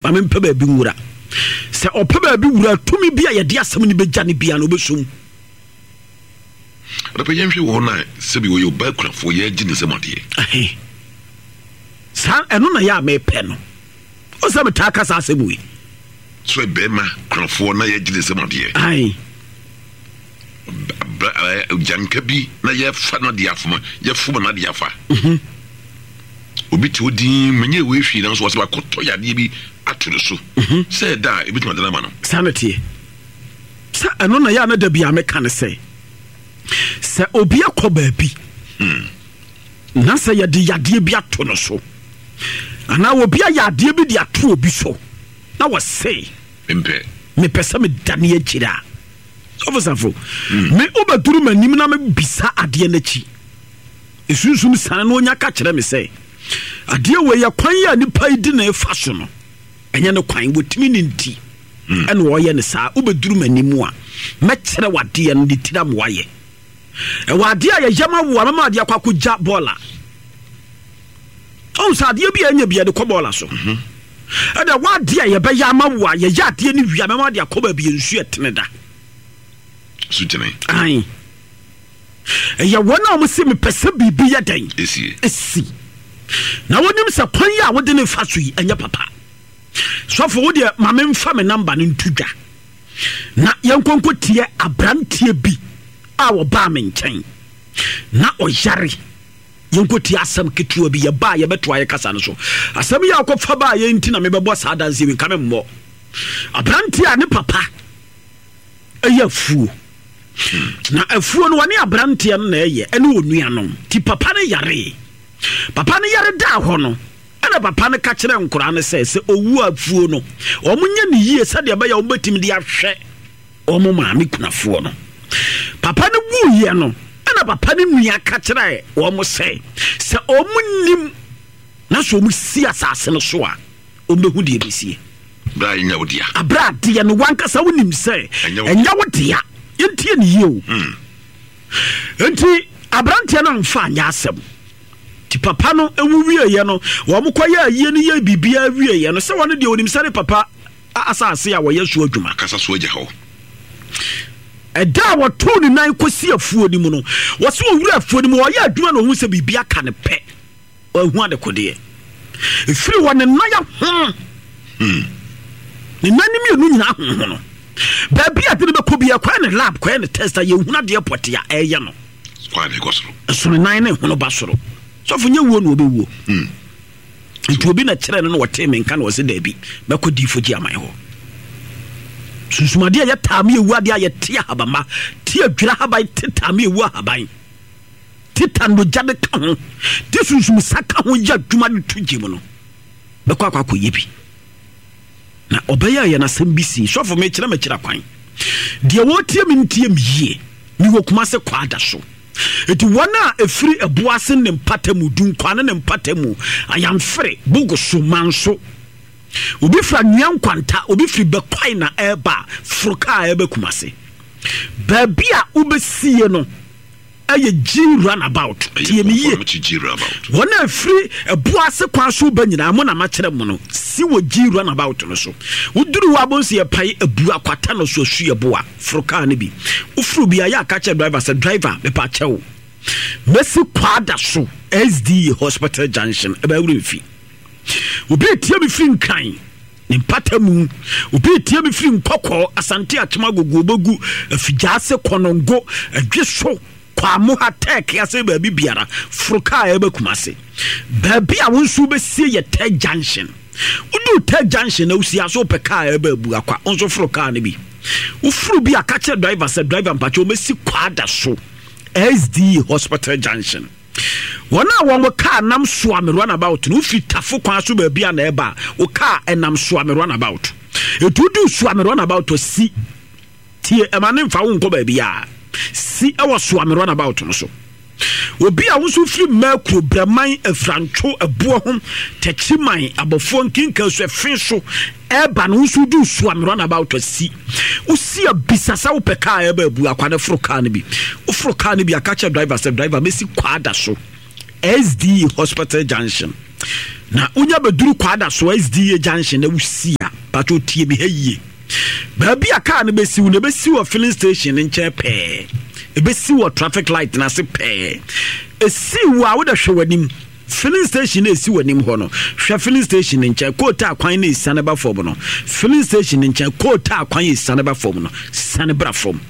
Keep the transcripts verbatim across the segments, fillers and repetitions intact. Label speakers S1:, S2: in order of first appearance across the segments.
S1: Ma mempɛ baabi nwura. Sɛ ɔpɛ baabi wura, tumi bi a yɛde asɛm no bɛgya no bia no, wobɛsom.
S2: Ɔdɔpɛ, yɛnhwɛ wɔ hɔ no a, sɛbi wɔyɛ ɔbaa kunafoɔ, yɛgye ne nsɛm adeɛ.
S1: Saa ɛno na yɛ a mepɛ no. Wo sɛ metaa ka saa asɛm wei.
S2: So bɛrima kunafoɔ na yɛgye ne nsɛm adeɛ.
S1: Ae.
S2: Gyanka bi na yɛfa no de afoma, yɛfoma no de afa. Mhm. Obi te hɔ din, menyɛ wei hwee, nanso wɔsɛ wakɔtɔ yadeɛ bi ato ne so mhm. sɛ ɛda a ɛbɛtumi adana ma no.
S1: Saa na teɛ. Sɛ ɛno na yɛ a na da bia meka ne sɛ sɛ obi akɔ baabi hmm. na sɛ yɛde yadeɛ bi ato no so anaa obi ayɛ adeɛ bi de ato obi so na wɔse
S2: mepɛ
S1: mepɛ sɛ medane akyiri a, ɔfosafo hmm. me wobɛduru m'anim na mebisa adeɛ no akyi esunsum sane na onya ka kyerɛ me sɛ adeɛ wei yɛ kwan yi a nipa yi di na ɛfa so no, ɛnyɛ ne kwan, wɔtumi ne nti hmm. ɛna ɔyɛ ne saa. Wobɛduru m'anim a, mɛkyerɛ wadeɛ no de tira ma wayɛ. Ɛwɔ adeɛ a yɛyɛ ma wo a, mɛma adeɛ akɔ akɔgya bɔɔla. Ɔhu sɛ adeɛ bi a ɛnyɛ bi yɛde kɔ bɔɔla so. mhm. Ɛdɛ wadeɛ a yɛbɛyɛ ama wo a, yɛyɛ adeɛ no wie a, mɛma adeɛ akɔ baabi nsu ɛtene da.
S2: Sutene.
S1: Ae, ɛyɛ wɔn a wɔn sɛ mepɛ sɛ biribi yɛ dɛn esi na wɔnim sɛ kwan yi a wɔde ne fa so yi ɛnyɛ papa. Sɔfo, wo deɛ, ma memfa me number no nto dwa na yɛnkɔnkɔ tie aberanteɛ bi a wɔbaa me nkyɛn na ɔyare. Yɛnkɔ tie asɛm ketewa bi. Yɛbaa, yɛbɛtoa yɛ kasa no so. Asɛm yi a wɔkɔfa baa yɛn nti na mebɛbɔ saa adanseɛ bi. Nka memmɔ. Aberanteɛ a ne papa ɛyɛ afuo, na afuo no wɔne aberanteɛ no na ɛyɛ, ɛne onuanom. Ti papa no yare, papa no yare daa hɔ no, ɛna papa no ka kyerɛ nkoraa no sɛ sɛ owu afuo no, wɔn nyɛ ne yie sɛdeɛ ɛbɛyɛ wɔn bɛtumi de ahwɛ wɔn maame kunafoɔ no. Papa no wuyɛ no, ɛna papa no nua ka kyerɛ wɔn sɛ sɛ wɔn nim na sɛ wɔn si asase no so a, wɔn bɛhu deɛ bɛsie.
S2: Bra ɛnyɛ wo dea.
S1: Abra adeɛ no wankasa wonim sɛ ɛnyɛ wo dea. Yɛntie ne yie o hmm. Nti aberanteɛ no amfa anyɛ asɛm. Nti papa no ewu wieɛ no, wɔn kɔyɛ ayie no, yɛ biribiara wieɛ no, sɛ wɔn deɛ onim sɛ ne papa asase a wɔyɛ so adwuma.
S2: Kasa so agya hɔ.
S1: Ɛda a wɔtoo ne nan kɔsi afuo no mu no, wɔsi owura afuo no mu ɔyɛ adwuma na ohun sɛ biribi aka ne pɛ, ɔhu adekodeɛ efiri wɔ ne nan ahono hmm. Ne nan ne mmienu nyinaa ahoho no, baabi a de no bɛkɔ bi, ɛkɔyɛ ne lab, kɔyɛ ne test a, yɛhunu adeɛ pɔte a ɛyɛ no. Ɛso ne nan ne hono ba soro. Sɔfo, nyɛ wuo na ɔbɛwuo hmm. Nti obi na kyerɛ no na wɔtee me nka na wɔsɛ daabi, mɛkɔ diifo gye aman hɔ. Sunsumadeɛ a yɛtaa me ewu adeɛ a yɛte ahabama te adwira ahaban te taa me ewu ahaban te tanogya de ka ho te sunsum sa ka ho yɛ adwuma de to gye mu no, bɛkɔ akɔ akɔyɛ bi na ɔbɛyɛ yɛn asɛm bi si. Sɔfo, mekyerɛ mekyerɛ kwan deɛ wɔtie me ntie me yie. Mewɔ Kumase kɔ so, eti wɔn a efiri ɛboase ne mpata mu, Dunkwane ne mpata mu, Ayamfere, Bogoso, Manso, obi firi Anwea Nkwanta, obi firi Bɛkwae na ɛreba, foro kaa ɛreba Kumase, baabi a wobɛsie no ɛyɛ G Runabout. Tie me yie, wɔn a efiri ɛboase kwan so ba nyinaa mo na makyerɛ mo no, si wɔ G Runabout no so. Woduru hɔ abonsi yɛ pae ebu akwata no so asu yɛ boa. Foro kaa no bi, woforo bi a, yɛ aka kyerɛ driver sɛ, "Driver, mepa kyɛw, mɛsi Kwada so S D A Hospital Junction." Ɛbɛn wura mfi. Obi etie mi firi Nkran ne mpata mu, obi etie mi firi Nkɔkɔɔ, Asante Akyem, Agogo, Obogu, Afigyaase, Kɔnɔngo, Adwe so, Kwamoha, Tɛɛke ase, baabi biara, foro kaa ɛbɛ Kumase. Baabi a wɔn nso bɛsie yɛ Tɛ Junction. Woduru Tɛ Junction na wosi aso pɛ kaa ɛbɛ abu akwa, wɔn nso foro kaa no bi. Woforo bi a, ka kyerɛ driver sɛ, "Driver, mpakyɛ, wɔmɛsi Kwada so S D A Hospital Junction." Wɔn a wɔn kaa nam Soame Runabout no, wofiri Tafo kwan so baabi a na ɛba a, wo kaa ɛnam Soame Runabout, etu du Soame Runabout, si tie, ɛma ne nfa wo nkɔ baabi a, si ɛwɔ Soame Runabout no so. Obi a nso firi Mmakuro, Brɛman, Afurantwo, Ɛboɔ ho, Tɛkyiman, Abɔfoɔ, Nkinka so, ɛfe so ɛɛba no nso, du Soame Runabout, si wosi a, bisa sɛ wopɛ kaa ɛɛba abu akwa ne. Foro kaa no bi, woforo kaa no bi aka kyerɛ driver sɛ, "Driver, mɛsi Kwada so S D A Hospital Junction." Na wonya bɛduru Kwada so S D A Junction na wosi a Patro, tie me ha yie. Baabi a kaa no bɛsiw no, ɛbɛsi wɔ filling station no nkyɛn pɛɛ, ɛbɛsi wɔ traffic light no ase pɛɛ. Ɛsi wɔ a, wode hwɛ w'anim, filling station no ɛsi w'anim hɔ no, hwɛ filling station no nkyɛn, kootaa kwan no ɛsiane ba fam no, filling station no nkyɛn, kootaa kwan ɛsiane ba fam no, siane bra fam.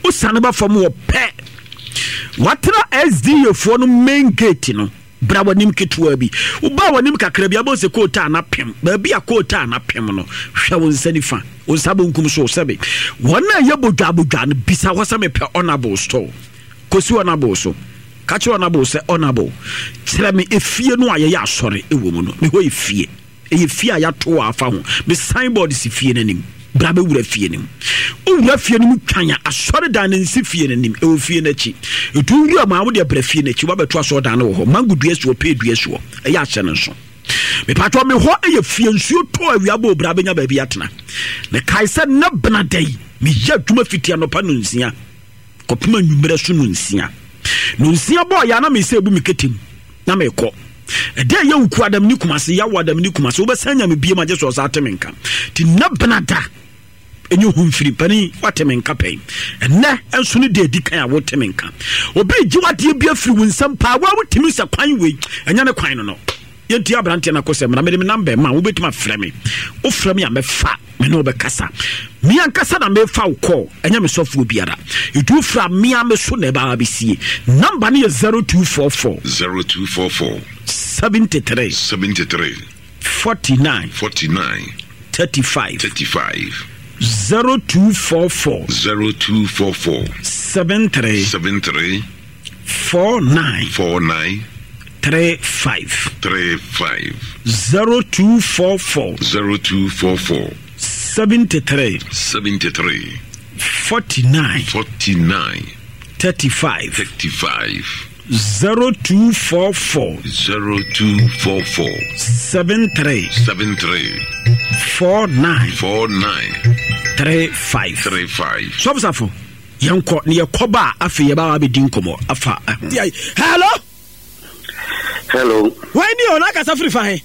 S1: Wosiane ba fam wɔ pɛ, watena S D A foɔ no main gate no, bra w'anim ketewa bi. Wobaa w'anim kakra bi, abɔ sɛ kootaa na pem. Baabi a kootaa na pem no, hwɛ wo nsa nifa, wo nsa bonkum so, sɛbe wɔn a ɛyɛ bodwa bodwa no, bisa hɔ sɛ mepɛ Honorable store. Kɔsi Honorable so, ka kyerɛ Honorable sɛ, "Honorable, kyerɛ me efie no a yɛyɛ asɔre ɛwɔ mu no." Me hɔ yɛ fie, ɛyɛ fie a yɛato wɔ afa ho. Me signboard si fie no anim. Bra bɛwura fie no mu. Wowura fie no mu twan a, asɔredan no nsi fie no anim, ɛwɔ fie no akyi. Ɛtu wura mu a, wode brɛ fie no akyi, woabɛto asɔredan no wɔ hɔ. Mango dua si hɔ, pee dua si hɔ. Ɛyɛ ahyɛ no nso. Mepatɔ, me hɔ ɛyɛ fie. Nsuo tɔ, awia bɔ, obra bɛnya baabi atena. Na kae sɛ nnɛ bena da yi, meyɛ adwuma fiti anɔpa no nsia kɔpem anwummerɛ so no nsia. No nsia bɔɔ yɛ a, na mesɛ ebu me ketem na mekɔ. Ɛdɛ ɛyɛ wuku adam ne Kumase, yawo adam ne Kumase, wobɛsan nya me biem agye sɛ ɔsa ate me nka. Nti nnɛ bena da ɛnyɛ hu mfiri pani wate me nka pɛn. Ɛnɛ nso no de adi kan a wote me nka, obi gye wadeɛ bi afiri wo nsɛm paa, wa wotumi sɛ kwan wei ɛnyɛ ne kwan no no Yɛnti aberanteɛ no akɔ sɛ mmara. Mede me number ma, wobɛtumi afrɛ me. Wofrɛ me a, mɛfa, me ne wobɛkasa. Me ankasa na mefa wo kɔɔ, ɛnyɛ me sɔfoɔ biara. Ɛtu wofrɛ a, mea me so na ɛbaa bɛsie. Number no yɛ zero two four four
S2: zero two four four
S1: seventy-three
S2: seventy-three
S1: forty-nine
S2: forty-nine
S1: thirty-five.
S2: thirty-five.
S1: zero two four four
S2: zero two four four
S1: seven three
S2: seven three
S1: four nine
S2: four nine
S1: three five.
S2: three five.
S1: zero two four four
S2: zero two four four
S1: seventy-three
S2: seventy-three
S1: forty-nine
S2: forty-nine
S1: thirty-five.
S2: thirty-five.
S1: zero two four four
S2: zero two four four
S1: seven three
S2: seven three
S1: four nine
S2: four nine
S1: three five.
S2: three five.
S1: Sɔfosafo, yɛnkɔ ne yɛkɔba a, afei yɛbɛba abɛdi nkɔmmɔ afa. Hello.
S3: Hello.
S1: Wɔn ni o, n'akasa firi fa he?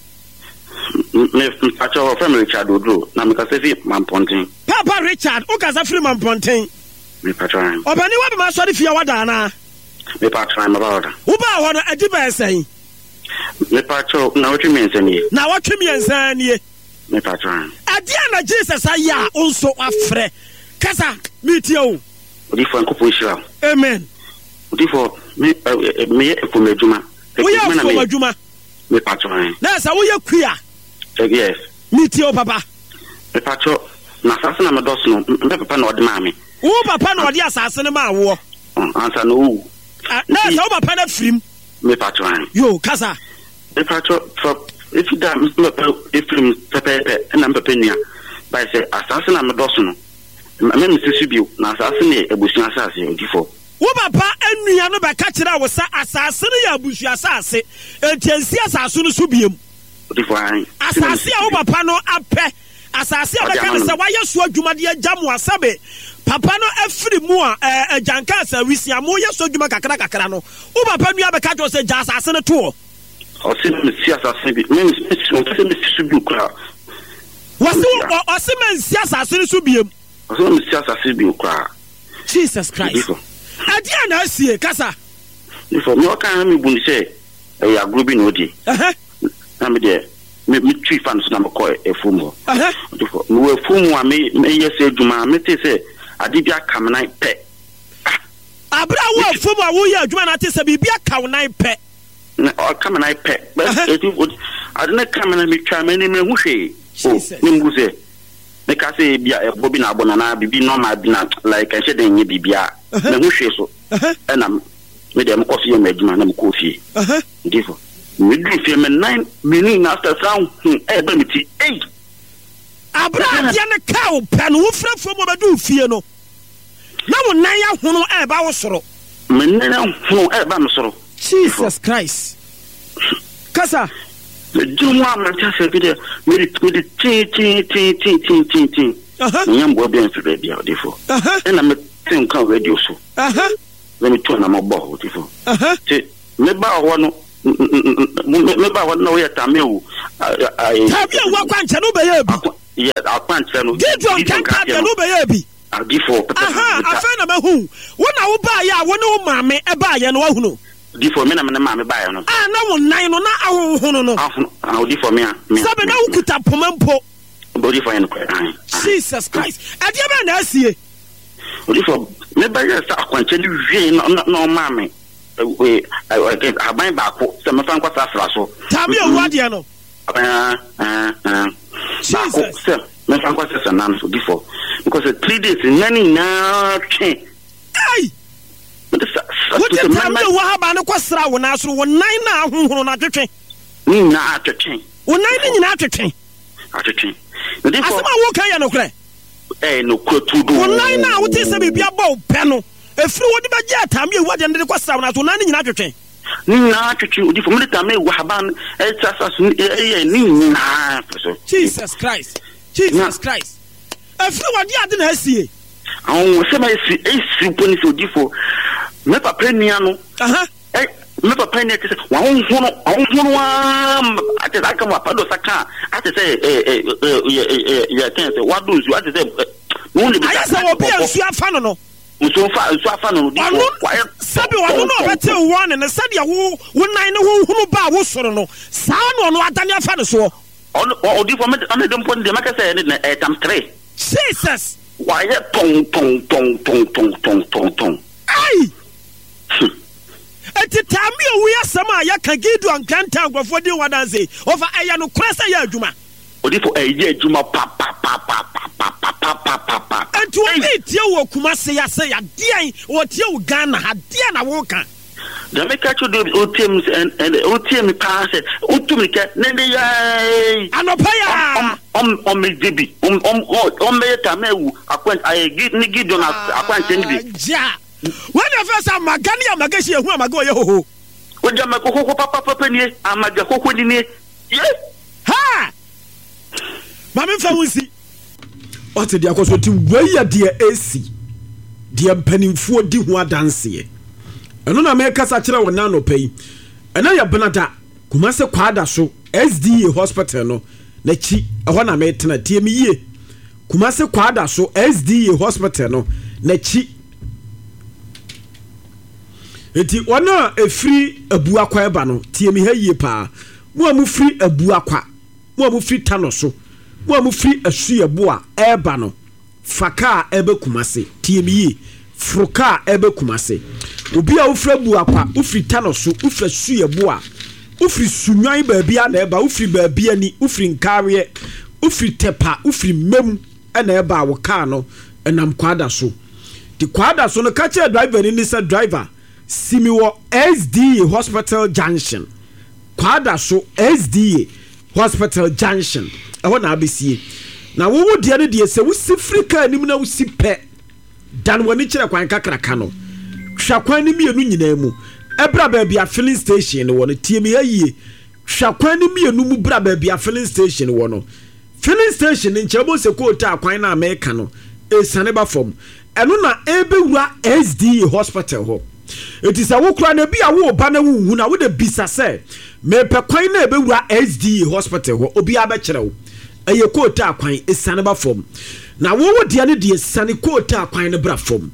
S3: Me mpakyɛ, wɔfrɛ me Richard Oduro na mekasa fi Mampɔnten.
S1: Papa Richard, wokasa firi Mampɔnten?
S3: Mepakyɛ.
S1: Ɔbɛne wabɛma asɔre fie a wada anaa?
S3: Mepakyɛ, maba ɔda.
S1: Wobaa hɔ no, adi bɛɛ sɛn?
S3: Mepakyɛ, na wɔtwe mmiɛnsa nie.
S1: Na wɔtwe mmiɛnsa nie?
S3: Mepakyɛ.
S1: Ɛdeɛ na Jesus ayɛ a wo nso wafrɛ? Kasa, metie o.
S3: Odifoɔ, Nkɔpɔ nhyira wo.
S1: Amen.
S3: Odifoɔ, me ɛ, ɛ, meyɛ afuom adwuma.
S1: Woyɛ
S3: Adwuma na
S1: afuom
S3: meyɛ.
S1: adwuma?
S3: Mepakyɛ.
S1: Na sɛ woyɛ kua?
S3: Ɛ, yes.
S1: Metie o, papa.
S3: Mepakyɛ, na asase na medɔ so no, me papa na ɔde maa me.
S1: Wo papa na ɔde asase no maa woɔ?
S3: Ɔ, ansa na owu.
S1: Ah, na sɛ wo papa no afirim?
S3: Mepakyɛ.
S1: Yo, kasa.
S3: Mepakyɛ, fa efi da me papa efirim pɛpɛɛpɛ, ɛna me papa nua bae sɛ asase na medɔ so no, mɛ mesi so bio, na asase no yɛ abusua asase, odifoɔ.
S1: Wo papa nua no bɛka kyerɛ wo sɛ asase no yɛ abusua asase, enti ansi asase no so biem?
S3: Odifoɔ, ae.
S1: Asase a wo papa no apɛ, asase a
S3: Ɔde
S1: bɛka
S3: ama
S1: no
S3: no.
S1: Sɛ wayɛ so adwuma de agya mo asɛbe papa no afiri mu a, ɛɛ, agyanka sɛ wisia moyɛ so adwuma kakra kakra no, wo papa nua bɛka kyerɛ wo sɛ gya asase no toɔ?
S3: Ɔse mesi asase no bi, me mesi, ɔmpɛ sɛ mesi so bio koraa.
S1: Wɔse ɔ- ɔse mansi asase no so biem?
S3: Ɔse mesi asase bio koraa.
S1: Jesus Christ!
S3: Odifoɔ.
S1: Ɛdeɛ na asie? Kasa.
S3: Odifoɔ, me ɔka na mebu no sɛ ɛyɛ agorɔ bi na ɔdi.
S1: Ɛhɛ.
S3: Na me deɛ, me metui fa no so na mekɔ afuom hɔ.
S1: Ɛhɛ.
S3: Odifoɔ, mewɔ afuom a me meyɛ sɛ adwuma a, metee sɛ ade bi aka me nan pɛ.
S1: Abere a wo afuom a woyɛ adwuma no ate sɛ biribi aka wo nan pɛ?
S3: Na ɔka me nan pɛ.
S1: Ɛhɛ.
S3: Bɛ eti ade no ka me nan, metwa m'anim, mehu hwee o.
S1: Jesus.
S3: Ne mu sɛ meka sɛ ebi a ɛbɔ bi na abɔ nana biribi normal bi na like ɛnhyɛ den nyɛ biribiara.
S1: Ɛhɛ.
S3: Mehu hwee so.
S1: Ɛhɛ.
S3: Ɛna me deɛ, mekɔ so yɛ m'adwuma na mekɔɔ fie.
S1: Ɛhɛ.
S3: Odifoɔ, meduru fie, me nan mmienu nyinaa after saa hu ɛɛba me ti ei.
S1: Abere a adeɛ no ka wo pɛ no, wofiri afuom wɔbɛdu wo fie no, na wo nan ahono ɛɛba wo soro?
S3: Me nan ahono ɛɛba me soro.
S1: Jesus Christ! Kasa.
S3: Medwene ho a, mente asɛ bi deɛ, mede mede tee tee tee tee tee tee tee.
S1: Aha.
S3: Menya mboa bi amfiri baabi a, odifoɔ.
S1: Aha.
S3: Ɛna mete nka wɔ radio so
S1: Aha.
S3: na metu anamɔ bɔ hɔ, odifoɔ.
S1: Aha.
S3: Nti mebaa hɔ no, mebaa hɔ no na woyɛ tamewu.
S1: Taabi a wo akwankyɛ no wobɛyɛ bi?
S3: Yɛ akwankyerɛ no.
S4: Gideon Kɛntɛ deɛ no wobɛyɛɛ bi.
S3: Odiyifoɔ pɛpɛ.
S4: Aha, afei na mahu. Wo na wobaeɛ a wo ne wo maame baeɛ no, woahunu?
S3: Odiyifoɔ, me na me ne maame baeɛ no.
S4: A na wo nan no na ahonhono no.
S3: Ahono, ah, odiyifoɔ, me a, me a.
S4: Sɛbe na wokuta poma mpo.
S3: Odiyifoɔ, yɛ nokorɛ, ae, ae.
S4: Jesus Christ, ɛdeɛ bɛn na asie?
S3: Odiyifoɔ, mebɛyɛɛ sɛ akwankyerɛ no wiei na, na, na ɔmaa me ɛ, ɛ, ɛ, ahaban baako sɛ memfa nkɔsrasra so.
S4: Taame owu adeɛ no.
S3: Aah aah aah baako sɛ mɛfa nkɔ sɛ sɛ nan so before because three days nna ne nyinaa twe.
S4: Ei! Wogye tam ne owu ahaban no kɔ sra wo nan so wo nan na ahohoro no atwetwe.
S3: Ne nyinaa atwetwe.
S4: Wo nan ne nyinaa atwetwe.
S3: Atwetwe.
S4: Asɛm a woka yɛ nokorɛ.
S3: Ɛyɛ nokorɛ turodoo.
S4: Wo nan no a wote sɛ biribi abɔ wo pɛ no, ɛfiri wode bɛgye atam ne owu adeɛ no de kɔ sra wo nan so, wo nan no nyinaa atwetwe.
S3: Ne nyinaa twetwe odifo mede ta me wahaban ɛsasa so ɛyɛ ne nyinaa fɛ so.
S4: Jesus Christ, Jesus Christ. Ɛfiri wɔde ade na asie.
S3: Ahonhosɛm a esi esi mpo ne sɛ odifo me papa nua no.
S4: Aha.
S3: Ɛ me papa nua te sɛ wahonhono ahonhono aa ate sɛ aka mu apa dɔ sa ka ate sɛ ɛ ɛ ɛ yɛ ɛ yɛ kɛn sɛ wado nsuo ate sɛ ɛ.
S4: Ayɛ sɛ obi a nsuo afa no no.
S3: Nsuo fa nsuo afa no no di
S4: Ɔno sɛbi ɔno na ɔbɛte wo wɔne no sɛdeɛ wo wo nan ne ho hunu baa wo soro no saa na ɔno adane afa ne soɔ.
S3: Ɔno odiyifoɔ me ɔno de mpo deɛ mɛka sɛ ɛne ɛyɛ tam three.
S4: Jesus.
S3: Wayɛ tɔn tɔn tɔn tɔn tɔn tɔn tɔn tɔn.
S4: Ai! Eti taame owu yi asɛm a yɛka Gideon Nkrantɛ a nkurɔfoɔ di ho adanse ɔfa ɛyɛ nokorɛ sɛ ɛyɛ adwuma.
S3: Odifo ɛyɛ adwuma papapapapapapapapa.
S4: Enti obi retie wo wɔ Kumasi ha sei a deɛn ɔretie wo Ghana ha deɛn na woreka?
S3: Deɛ meka kyerɛ deɛ ɔtie me sɛ ɛnɛ ɔtie me paa sɛ wotu mirika ne de yɛɛ.
S4: Anɔpa yi ara.
S3: Ɔmmɛgye bi ɔmmɛyɛ tame awu akwan ayɛ ne Gideon akwankyɛn no bi.
S4: Gya wei na ɛfɛ sɛ amaga ne amaga hyia ehu amaga ɔyɛ hoho.
S3: Wogya amaga hoho papapapa nie amaga hoho ni nie ye.
S4: Ha! Ma me nfa wo nsi.
S1: Wate deɛ akɔ so nti wei yɛ deɛ ɛsi deɛ mpanimfoɔ di ho adanseɛ ɛno na mekasa kyerɛ wɔ nanɔpa yi ɛna yɛ benada Kumase Kwada so S D A hospital no n'akyi ɛhɔ na metena tie me yie Kumase Kwada so S D A hospital no n'akyi nti wɔn a ɛfiri Abuakwa ɛba no tie me ha yie paa mo a mofiri Abuakwa mo a mofiri Tano so mo a mofiri Asuaboa ɛreba no fa kaa ɛbɛ Kumase tie me yie foro kaa ɛbɛ Kumase obi a wofiri Abuakwa wofiri Tano so wofiri Asuaboa wofiri Sunwan baabi a na ɛba wofiri baabi ani wofiri Nkareɛ wofiri Tɛpa wofiri Mmem ɛna ɛba a wɔ kaa no ɛnam Kwada so ti Kwada so no ka kyerɛ driver ni ne sɛ driver si mi wɔ S D A Hospital Junction Kwada so S D A Hospital Junction ɛhɔ na abɛsie na wowo deɛ no deɛ sɛ wosi firi kaa anim na wosi pɛ dan w'ani kyerɛ kwan kakraka no hwɛ kwan no mmienu nyinaa mu ɛbra baabi a filling station no wɔ no tie me ayie hwɛ kwan no mmienu mu bra baabi a filling station wɔ no filling station no nkyɛn bɔ sɛ kootaa kwan no a mɛka no esiane ba fam ɛno na ɛbɛwura S D A Hospital hɔ eti sɛ wokura na ebi a wo ba na wohu na wode bisa sɛ mepɛ kwan na ɛbɛwura S D A Hospital hɔ obiara bɛkyerɛ wo ɛyɛ kootaa kwan esiane ba fam na wowo deɛ no deɛ siane kootaa kwan no bra fam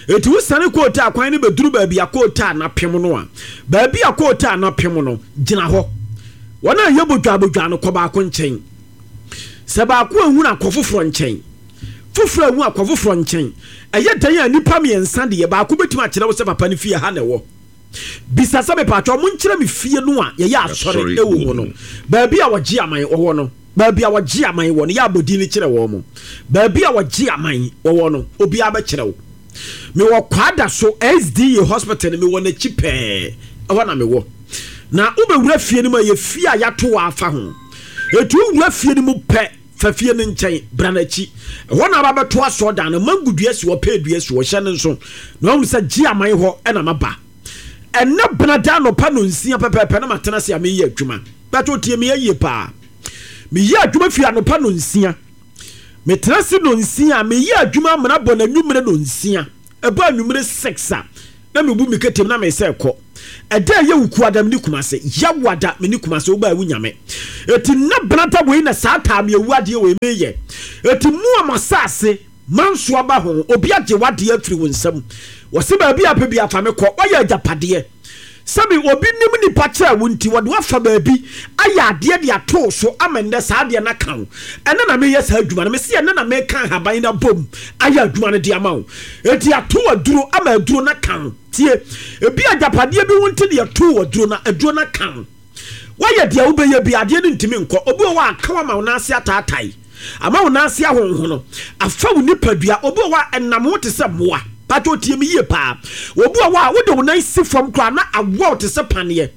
S1: eti wo siane kootaa kwan no bɛduru baabi a kootaa na pem no a baabi a kootaa na pem no gyina hɔ wɔn a yɛ bodwa bodwa no kɔ baako nkyɛn sɛ baako ehu na kɔ foforɔ nkyɛn foforɔ ehu akɔ foforɔ nkyɛn ɛyɛ dan a nipa mmiɛnsa deɛ baako bɛtumi akyerɛ wo sɛ papa no fie ha na ɛwɔ bisa sɛ mepatwa ɔmo nkyerɛ me fie no a yɛyɛ asɔre ɛwɔ mu no baabi a wɔgye aman wɔwɔ no baabi a wɔgye aman wɔ no yɛ abɔdin no kyerɛ wɔn mo baabi a wɔgye aman wɔwɔ no obiara bɛkyerɛ wo mewɔ Kwada so S D A Hospital no mewɔ n'akyi pɛɛ ɛhɔ na mewɔ na wobɛwura fie no mu a yɛ fie a yɛato wɔ afa ho etu wura fie no mu pɛ fa fie no nkyɛn bra n'akyi ɛhɔ na aba bɛto asɔɔdan no mango dua si hɔ pɛɛ dua si hɔ hyɛ no nso na wɔn sɛ gye aman hɔ ɛna maba ɛnɛ benada anɔpa no nsia pɛpɛɛpɛ na matena ase a meyɛ adwuma bɛtɛ otie meyɛ yie paa meyɛ adwuma fie anɔpa no nsia metena ase no nsia meyɛ adwuma amena bɔ n'anwummerɛ no nsia ɛbɔ anwummerɛ six a na mebu me ketem na mesɛ kɔ Ɛda ɛyɛ Wukuada mene Kumase, Yawada mene Kumase, wobaa wo nyame. Eti nna benada wei na saa taame awu adeɛ wei meyɛ. Eti mu a masase manso aba ho, obi agye wadeɛ afiri wo nsam. Wɔse baabi a pɛ bi afa me kɔ, wayɛ agyapadeɛ. Sɛbi obi nim nipa kyerɛ wo nti wɔde wafa baabi ayɛ adeɛ de ato so ama nnɛ saa adeɛ no aka wo. Ɛnɛ na meyɛ saa adwuma no, mese ɛnɛ na meka ahaban no abom ayɛ adwuma no de ama wo. Eti ato aduro ama aduro no aka wo. Tie, ebi agyapadeɛ bi wo nti de ato aduro na aduro no aka wo. Wayɛ deɛ wobɛyɛ bi adeɛ no ntumi nkɔ. Obi wɔ hɔ a aka wo ama wo nan ase ataatae, ama wo nan ase ahonhono, afa wo nipadua. Obi wɔ hɔ a ɛnam ho te sɛ mmoa. Pato tie me yie paa. Obi wɔ hɔ a wode wo nan si fam koraa na awɔ te sɛ paneɛ.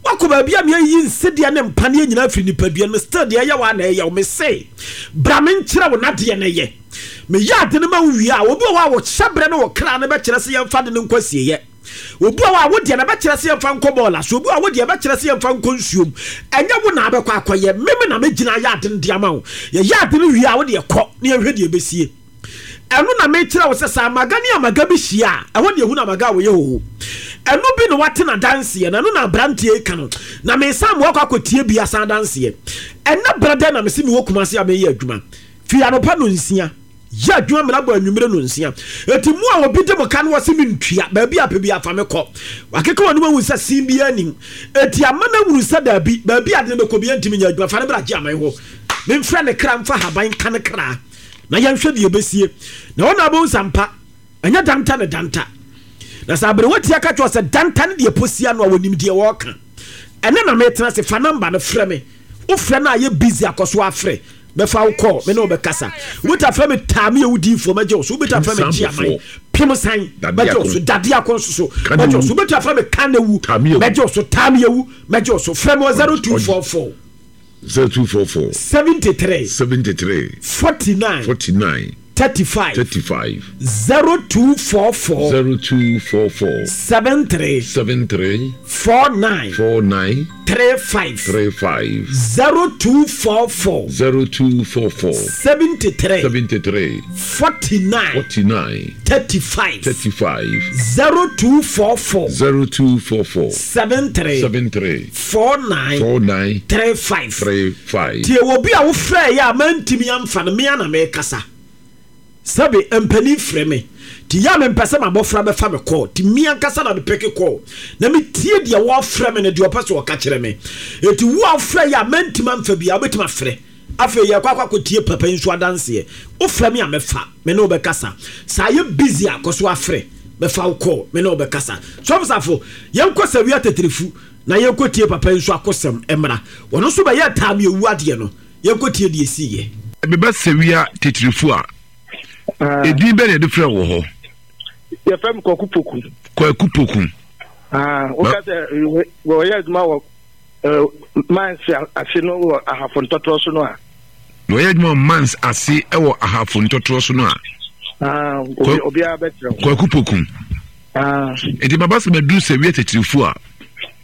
S1: Wakɔ baabi a meayi nsedeɛ ne mpaneɛ nyinaa firi nipadua no, still deɛ ɛyɛ wo a na ɛyɛ wo. Mese bra menkyerɛ wo nadeɛ no yɛ. Meyɛ ade no ma wo wie a, obi wɔ hɔ a wɔhyɛ berɛ ne wɔ kra no bɛkyerɛ sɛ yɛmfa de no nkɔ asieeɛ. Obi wɔ hɔ a wodeɛ no bɛkyerɛ sɛ yɛmfa nkɔ bɔɔla so. Obi wɔ hɔ a wodeɛ bɛkyerɛ sɛ yɛmfa nkɔ nsuom. Ɛnyɛ wo na abɛkɔ akɔyɛ. Meme na megyina ayɛ ade no de ama wo. Yɛyɛ ade no wie a, wodeɛ kɔ na yɛhwɛ deɛ ɛbɛsie. Ɛno na mekyerɛ wo sɛ sɛ amaga ne amaga bi hyia a, ɛhɔ ne ɛhu no amaga a wɔyɛ hoho. Ɛno bi na wate n'adanseɛ, na ɛno na aberanteɛ yi ka no. Na mesan mo akɔ akɔtie bi asan adanseɛ. Ɛnɛ berɛ dɛn na mese mewɔ Kumase a meyɛ adwuma. Firi anɔpa no nsia. Yɛ adwuma mena bɔ anwummerɛ no nsia. Eti mu a obi de mo ka no wɔse mentua, baabi a pɛ bi afa me kɔ. Wakeka wɔn ahu sɛ sin bi anim. Eti ama no ahunu sɛ daabi, baabi a de no bɛkɔ bi ntumi nyɛ adwuma. Fa no bra gye aman hɔ. Memfrɛ ne kra mfa haban ka ne kra. Na yɛnhwɛ deɛ ɛbɛsie. Na wɔn na abɛhu sampa, ɛnyɛ danta ne danta. Na sɛ aberewa tia ka kyerɛ sɛ danta ne deɛ posia no a wɔnim deɛ wɔreka. Ɛnɛ na metena se fa namba no frɛ me. Wofrɛ no a yɛ busy akɔ so afrɛ. Bɛfa wo kɔɔ, me ne wo bɛkasa. Wobɛta frɛ me taa me yɛ wo diifoɔ mɛgye wo so. Wobɛta frɛ me gye aman pem san mɛgye wo so. Dade ako nso so mɛgye wo so. Wobɛta frɛ me kanewu mɛgye wo so. Taa me yɛ mɛgye wo so. Frɛ me wɔ zero two four four
S2: zero two four four
S1: seventy three
S2: seventy three
S1: forty nine
S2: forty nine
S1: thirty five
S2: thirty five
S1: zero two four four
S2: zero two four four
S1: seven three
S2: seven three
S1: four nine
S2: four nine
S1: three five
S2: three five
S1: zero two four four
S2: zero two four four
S1: seventy three
S2: seventy three
S1: forty nine
S2: forty nine
S1: thirty five
S2: thirty five
S1: zero two four four
S2: zero two four four
S1: seven three
S2: seven three
S1: four nine
S2: four nine
S1: three five
S2: three five.
S1: Tie obi a wofrɛ yɛ a mantimi amfa no mea na mekasa. Sɛbe mpanin frɛ me ti ya me mpɛ sɛ mabɔfra bɛfa me kɔɔ ti me ankasa na mepɛke kɔɔ na metie deɛ wɔafrɛ me no deɛ ɔpɛ sɛ ɔka kyerɛ me. Eti wo a wofrɛ yɛ a mantimi amfa bia wobɛtumi afrɛ. Afei yɛkɔ akɔ akɔtie papa yi nso adanseɛ. Wofrɛ me a mɛfa, me ne wobɛkasa. Sɛ ayɛ busy a kɔ so afrɛ, mɛfa wo kɔɔ, me ne wobɛkasa. Sɔfosafo, yɛnkɔ Sawia Teterefu na yɛnkɔ tie papa yi nso akosɛm mmra. Ɔno nso bɛyɛ taa me ewu adeɛ no. Yɛnkɔ tie deɛ esiiɛ.
S2: Meba Sawia Teterefu a, edin bɛn na yɛde frɛ wɔ hɔ?
S5: Yɛfrɛ me Kwaku Poku.
S2: Kwaku Poku.
S5: Woka sɛ wɔyɛ adwuma wɔ mines ase no wɔ Ahafo ntɔtorɔ so no a.
S2: Wɔyɛ adwuma wɔ mines ase wɔ Ahafo ntɔtorɔ so no a.
S5: Obiara bɛkyerɛ wo.
S2: Kwaku Poku. Nti baba sɛ maduru Sawia Teterefu a.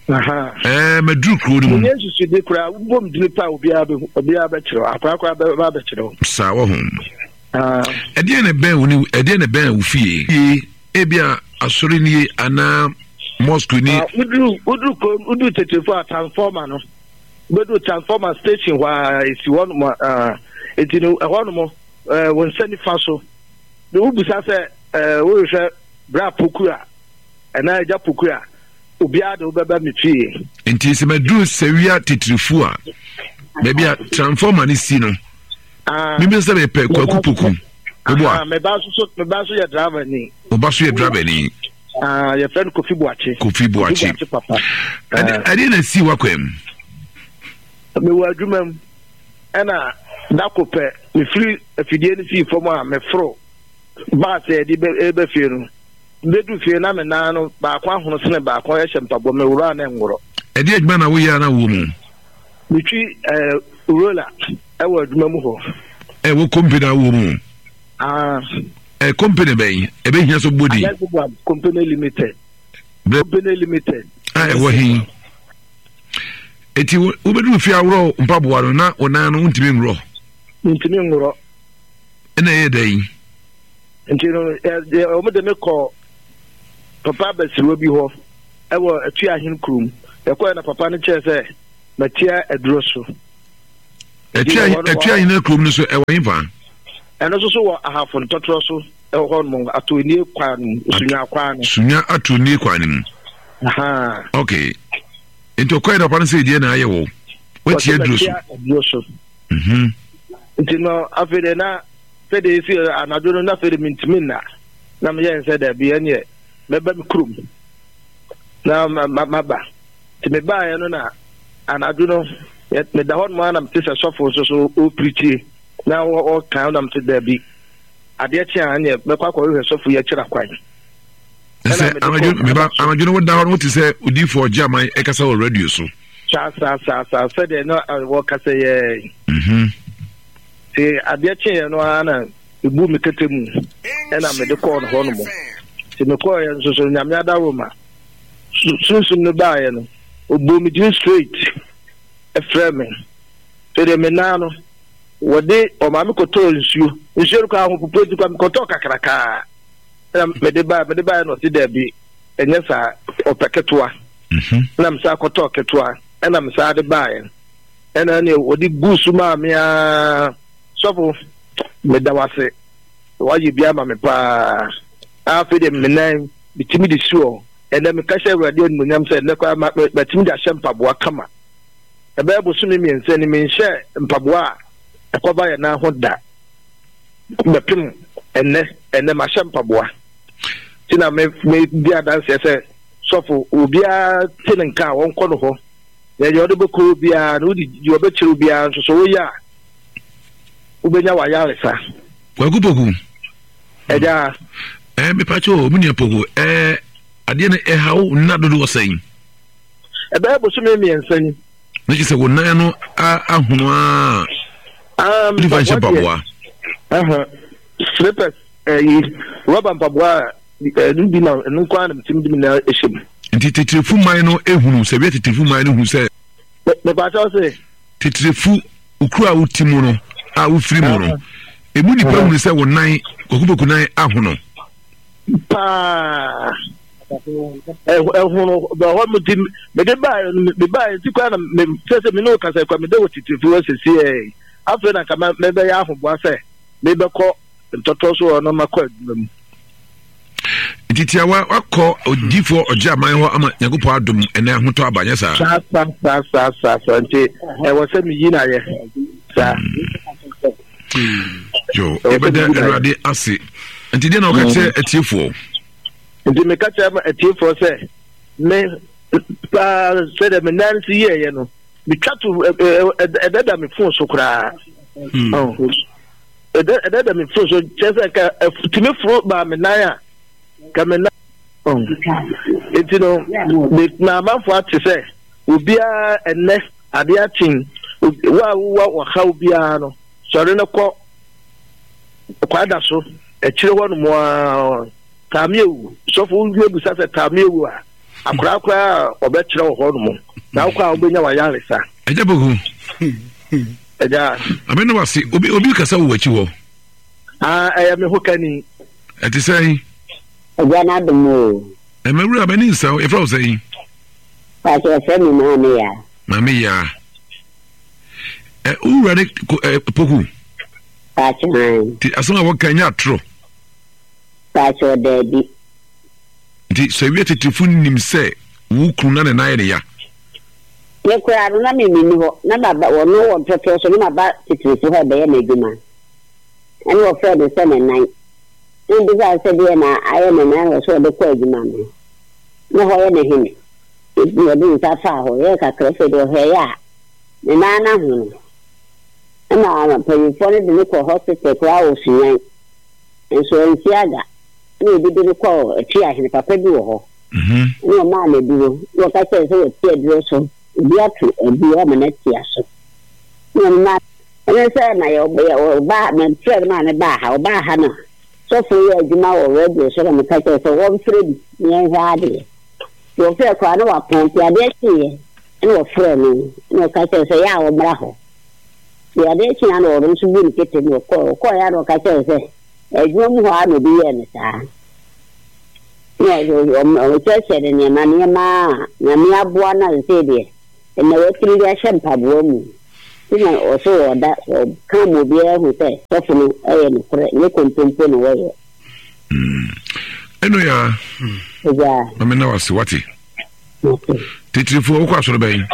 S2: Ɛɛ maduru kuro no mu.
S5: Menyɛ nsusude koraa wobɔ me dini pa a obiara bɛhu obiara bɛkyerɛ wo akora koraa bɛba abɛkyerɛ wo.
S2: Saa wɔ ho. Ɛdeɛn na ɛbɛn wo ne ɛdeɛn na ɛbɛn wo fie? Ebi a asɔre nie anaa mosque ni.
S5: Woduru woduru kurom woduru Teterefu a transformer no wobɛduru transformer station hɔ a esi hɔ nom a eti no ɛhɔ nom ɛɛ wo nsa nifa so na wobisa sɛ ɛɛ wohwehwɛ bra poku a ɛnaa agya poku a obiara de wobɛba me fie.
S2: Nti sɛ maduru Sawia Teterefu a baabi a transformer no si no. Mímí sɛ mepɛ Kwaku Poku. Oboa.
S5: Me ba nso me ba nso yɛ driver ni.
S2: O ba so yɛ driver ni.
S5: Ah, yɛfrɛ no Kofi Boakye.
S2: Kofi Boakye.
S5: Kofi Boakye papa.
S2: Ɛde ɛde na si wakwan mu.
S5: Mewɔ adwuma mu ɛna dako pɛ mefiri afidie no sii fam a meforo baase a yɛde bɛ fie no. Bɛdu fie na me nan no baako ahono sene baako ɛhyɛ mpaboa meworo a na ɛnworɔ.
S2: Ɛde adwuma na woyɛ a na wɔ mu?
S5: Metwi ɛɛ roller ɛwɔ adwuma mu hɔ.
S2: Ɛwɔ company a wɔ mu?
S5: Ah.
S2: Ɛ company bɛn? Ɛbɛhia so bɔ din.
S5: Alexibam Company Limited. Company Limited.
S2: A ɛwɔ he? Eti wobɛduru fie aworɔ mpaboa no na wo nan no wontumi nworɔ?
S5: Mentumi nworɔ.
S2: Ɛna ɛyɛ dɛn?
S5: Nti no wɔn de me kɔ papa abasiriwa bi hɔ. Ɛwɔ Atuahen kurom. Yɛkɔɛ na papa no kyerɛ sɛ matia aduro so.
S2: Atuahen kurom no so ɛwɔ hefa?
S5: Ɛno nso so wɔ Ahafo Ntɔtorɔ so ɛwɔ hɔ nom, Atonie kwan no mu, Sunya kwan no.
S2: Sunya Atonie kwan no mu. Okay. Nti ɔkɔɛ na papa no sɛ deɛ na ayɛ wɔ. Watia aduro so.
S5: Aduro so.
S2: Mhm.
S5: Nti no afei de na sɛdeɛ ɛsi anadwo no na afei de mentumi nna. Na meyɛ nsɛ daabi ɛneɛ mɛba me kurom na maba. Nti mebaeɛ no na anadwo no meda hɔ nom a na mete sɛ sɔfo nso so ɔpirikyie na ɔka na mete daabi adeɛ kye a ɛneɛ mɛkɔ akɔhwehwɛ sɔfo yi akyira kwan.
S2: Sɛ anadwo no woda hɔ no wote sɛ odiyifoɔ ɔgye aman ɛkasa wɔ radio so.
S5: Saa saa saa saa sɛdeɛ na wɔkasa yɛ. Nti adeɛ kyeeɛ no ara na mebu me kɛtɛ mu ɛna mede kɔɔ no hɔ nom. Nti mekɔɔyɛ nso so Nyame adaworoma sunsum no baeɛ no ɔbɔɔ me din straight ɛfrɛ me. Sɛdeɛ me nan no wɔde ɔmaa me kɔtɔɔ nsuo nsuo no koraa ahopopoɔ nti koraa mekɔtɔɔ kakrakaa ɛna mede baeɛ mede baeɛ na ɔse daabi ɛnyɛ saa ɔpɛ ketewa. Ɛna mesaa kɔtɔɔ ketewa ɛna mesaa de baeɛ ɛna ɛne wɔde guu so maa me ara. Sɔfo, meda wase, wayɛ bi ama me paa. Afei deɛ me nan metumi de si hɔ. Ɛnɛ meka hyɛ Awurade animuonyam sɛ ɛnɛ koraa matumi de ahyɛ mpaboa kama. Ɛbɛyɛ bosome mmiɛnsa ni menhyɛ mpaboa a ɛkɔba yɛn nan ho da. Bɛpem ɛnɛ, ɛnɛ mahyɛ mpaboa. Nti na me me di adanseɛ sɛ sɔfo obiara te ne nka a wɔnkɔ no hɔ. Na deɛ ɔde bɛkɔ obiara no wode deɛ ɔbɛkyerɛ obiara nso so woyɛ a wobɛnya w'ayaresa.
S2: Kwaku Poku.
S5: Ɛgya.
S2: Ɛɛ mepakyɛ o, me nua Poku, ɛɛ adeɛ no ɛha wo nna dodoɔ sɛn?
S5: Ɛbɛyɛ bosome mmiɛnsa ni.
S2: Ne kyerɛ sɛ wo nan no ahono a.
S5: Ah,
S2: nifa nhyɛ mpaboa.
S5: Slippers ɛyi rɔba mpaboa ɛno bi na ɛno nko ara na metumi de me nan ɛhyɛ mu.
S2: Nti titirifu man no ehunu sɛ wia titirifu man no hu sɛ.
S5: Mepakyɛw se.
S2: Titirifu okuro a woti mu no a wofiri mu no emu nipa hunu sɛ wo nan kwakupoku nan ahono.
S5: Paa ɛhono hɔ mo ti mede baa me baa nti kwan na me sɛ sɛ me ne wo kasa kwan mede wɔ titirifu hɔ sisi ɛ afei na nka mɛbɛyɛ ahoboa sɛ mebɛkɔ ntɔtɔ so hɔ na makɔ adwuma mu.
S2: Nti tiawa wakɔ odiifoɔ ɔgye aman hɔ ama Nyankopɔn adom ɛnɛ ahotɔ aba nyɛ saa.
S5: Saa saa saa saa saa saa nti ɛwɔ sɛ meyi no ayɛ saa.
S2: Yo, yɛbɛda Awurade ase. Nti deɛ na wɔka kyerɛ atiefoɔ?
S5: Nti meka kyerɛ atiefoɔ sɛ me paa sɛdeɛ me nan si yɛɛyɛ no metwa to ɛdada me fon so koraa. Ɛdada me fon so kyerɛ sɛ nka tumi foro baa me nan a ka me nan. Nti no me amanfoɔ ate sɛ obiara ɛnɛ adeɛ akyen wo a wowɔ ɔhaw biara no sɔre no kɔ kwada so akyire hɔ nom a taamiewu sɔfo wowie busa sɛ taamiewu a akoraa koraa a ɔbɛkyerɛ wɔ hɔ nom na wokɔ a wobɛnya wayaresa.
S2: Ɛgya Poku.
S5: Ɛgya.
S2: Ame ne wase obi obi kasa wɔ w'akyi hɔ.
S5: Ah, ɛyɛ me ho kani.
S2: Ɛte sɛn?
S6: Ɛgya n'adom o.
S2: Ɛmɛ wura m'ani nsa wo yɛfrɛ wo sɛn?
S6: Pakyɛ yɛfrɛ me Maame Yaa.
S2: Maame Yaa. Ɛ wo wura ne ɛ Poku?
S6: Pakyɛ han.
S2: Ti asɛm a wɔka nyɛ atorɔ.
S6: Pakyɛ daabi.
S2: Nti sɛ wia titirifo nim sɛ wo kunu na ne nan yɛ ne ya.
S6: Me koraa no na me menni hɔ na maba wɔno wɔ ntɔtɔ so na maba titirifo hɔ ɛbɛyɛ m'adwuma. Ɛna wɔfrɛɛ no sɛ ne nan. Na mebisaa no sɛ deɛ na ayɛ ne nan wɔ sɛ ɔde kɔ adwuma no. Na hɔ yɛ ne hene. Nti na ɔde ne nsa faa hɔ yɛɛ kakra afei deɛ ɔhwɛeɛ a ne nan no ahono. Ɛna mpanyinfoɔ no de no kɔɔ hospital koraa wɔ Sunyani. Nso ansi aga. Ɛna obi de no kɔɔ Atuahene, papa bi wɔ hɔ. Ɛna ɔmaa no aduro. Na ɔka kyerɛɛ no sɛ wate aduro so. Obi ato aduro ama no atia so. Ɛna ɔno maa Ɛne sɛ na yɛ ɔbaa mefrɛ no maa no baa ha ɔbaa ha no sɔfo yɛ adwuma wɔ radio so na meka kyerɛ sɛ wɔmfrɛ bi na yɛnhwɛ adeɛ nti wɔfrɛ koraa na wapɔn nti adeɛ kyeeɛ ɛna wɔfrɛ no na ɔka kyerɛ sɛ yɛ a wɔmmra hɔ nti adeɛ kyeeɛ na ɔno nso bu ne kete na ɔkɔɔ ɔkɔɔ yɛ a na ɔka kyerɛ sɛ adwuma mu hɔ a na obi yɛɛ no saa. Na ɔkyerɛkyerɛ ne nneɛma nneɛma a Nyame aboa no a sɛ deɛ ɛnna watumi de ahyɛ mpaboa mu. Nti na ɔso ɔda ɔka ma obiara hu sɛ sɔfo no ɛyɛ nokorɛ, nyɛ kontompo na wɔyɛ.
S2: Ɛno ya.
S6: Agya.
S2: Mame na wase wate. Titirifoɔ wokɔ asɔre bɛn?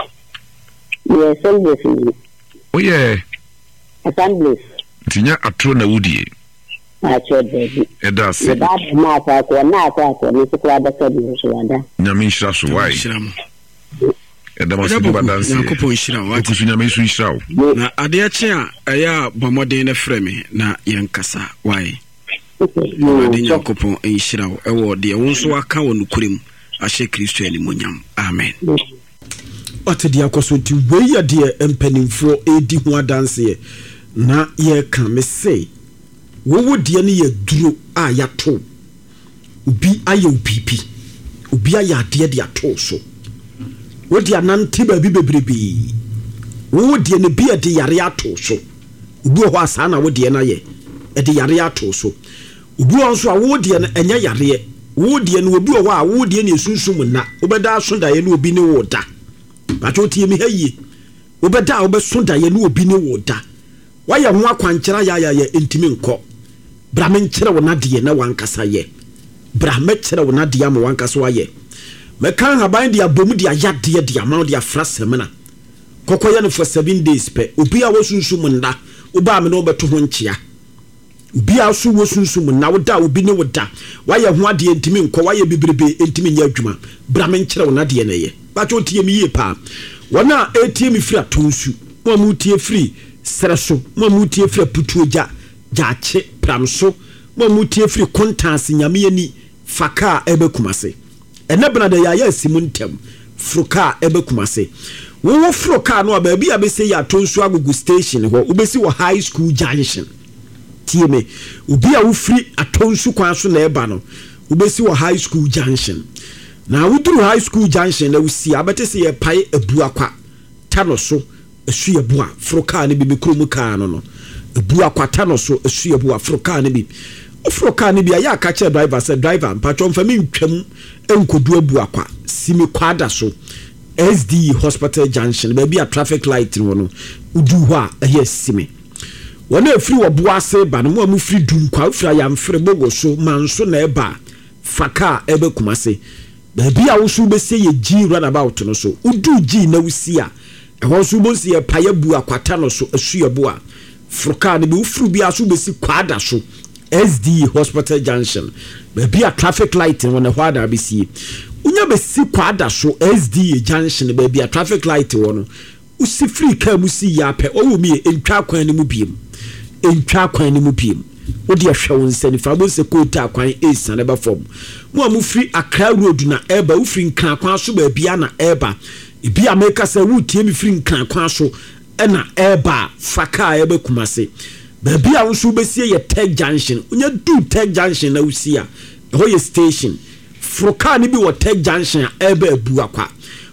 S6: Meyɛ Assemblies ni.
S2: Woyɛ?
S6: Assemblies.
S2: Nti nyɛ atoro na wodie?
S6: Akyerɛ daabi.
S2: Ɛda ase.
S6: Meba abɛma akɔ akɔ na akɔ akɔ no nso koraa bɛka bi nso wada.
S2: Nyame nhyira so wae. Ɛda mo ase de badanseɛ.
S1: Nyankopɔn nhyira wo.
S2: Okusu Nyame nso nhyira wo.
S1: Na adeɛ kye a ɛyɛ a bɔ mmɔden na frɛ me na yɛnkasa wae. Awurade Nyankopɔn nhyira wo ɛwɔ deɛ wo nso aka wɔ nokorɛ mu ahyɛ Kristo animuonyam. Amen. Ɔte deɛ akɔ so nti wei yɛ deɛ mpanimfoɔ redi ho adanseɛ na yɛreka. Me se wowo deɛ no yɛ duro a yɛato obi ayɛ wo biribi, obi ayɛ adeɛ de ato so, wode anante baabi bebrebee, wowo deɛ no bi ɛde yare ato so. Obi wɔ hɔ a saa na wo deɛ no ayɛ, ɛde yare ato so. Obi wɔ hɔ nso a wo deɛ no ɛnyɛ yareɛ, wo deɛ no obi wɔ hɔ a wo deɛ no esunsum nna, wobɛda aso daeɛ no obi ne wo da. Bàtɛ otie mi ha yie, wobɛda a wobɛso daeɛ no obi ne wo da. Wayɛ ho akwankyerɛ ayayayɛ ntumi nkɔ. Bra menkyerɛ wo nadeɛ na wankasa yɛ. Bra mɛkyerɛ wo nadeɛ ama wankasa wayɛ. Mɛka nhaban de abom de ayadeɛ de ama wo de afra sɛmina. Kɔkɔ yɛ no for seven days pɛ. Obi a wɔsunsum nda, wobaa me ne wobɛto ho nkyea. Obi a so wɔsunsum nna, woda obi ne wo da. Wayɛ ho adeɛ ntumi nkɔ, wayɛ bebrebe ntumi nyɛ adwuma. Bra menkyerɛ wo nadeɛ na ɛyɛ. Bàtɛ otie me yie paa. Wɔn a etie me firi atonsu, mo a motie firi serɛ so, mo a motie firi aputuogya, gyaakye, pramso, mo a motie firi kontaase Nyame ani, fa kaa ɛbɛ Kumase. Ɛnɛ bena de yɛayɛ asi mu ntɛm, foro kaa ɛbɛ Kumase. Wowo foro kaa no a baabi a bɛsɛ yɛ atonsu agogo station hɔ, wobɛsi wɔ High School Junction. Tie me, obi a wofiri atonsu kwan so na ɛba no, wobɛsi wɔ High School Junction. Na woduru High School Junction na wosi a, bɛte sɛ yɛpae Abuakwa ta no so Asuaboa foro kaa no bi, me kurom kaa no no Abuakwa ta no so Asuaboa foro kaa no bi. Woforo kaa no bi a yɛ aka kyerɛ driver sɛ driver mpatwɔ mfa me ntwam nkodu Abuakwa, si me kwada so S D E Hospital Junction baabi a traffic light no wɔ no, wodu hɔ a ɛyɛ si me. Wɔn a ɛfiri wɔ Boase ba no, mo a mofiri Dunkwa, wofiri Ayamfere, Bogo so, Manso na ɛba, fa kaa ɛbɛ Kumase. Baabi a woso wobɛsie yɛ G runabout no so. Wodu G na wosi a, ɛhɔ nso wobɛsi yɛ paeɛ bu akwata no so Asuaboa. Foro kaa no bi, woforo bi a so wobɛsi Kwada so S D E Hospital Junction. Baabi a traffic light no wɔ no, ɛhɔ a na wobɛsie. Wonya bɛsi Kwada so S D E Junction, baabi a traffic light wɔ no, wosi firi kaa mu si yɛ apɛ, ɔwɔ mu yɛ ntwa kwan no mu biem. Ntwa kwan no mu biem. Wode ahwɛ wo nsa nifa, wobɛhu sɛ kootaa kwan esiane ba fam. Mo a mofiri Accra Road na ɛreba, wofiri Nkran kwan so baabi a na ɛreba. Ebi a meka sɛ wotie me firi Nkran kwan so ɛna ɛreba a, fa kaa ɛbɛ Kumase. Baabi a wo nso wobɛsie yɛ Tech Junction. Wonya du Tech Junction na wosi a, ɛhɔ yɛ station. Foro kaa no bi wɔ Tech Junction a ɛreba Abuakwa.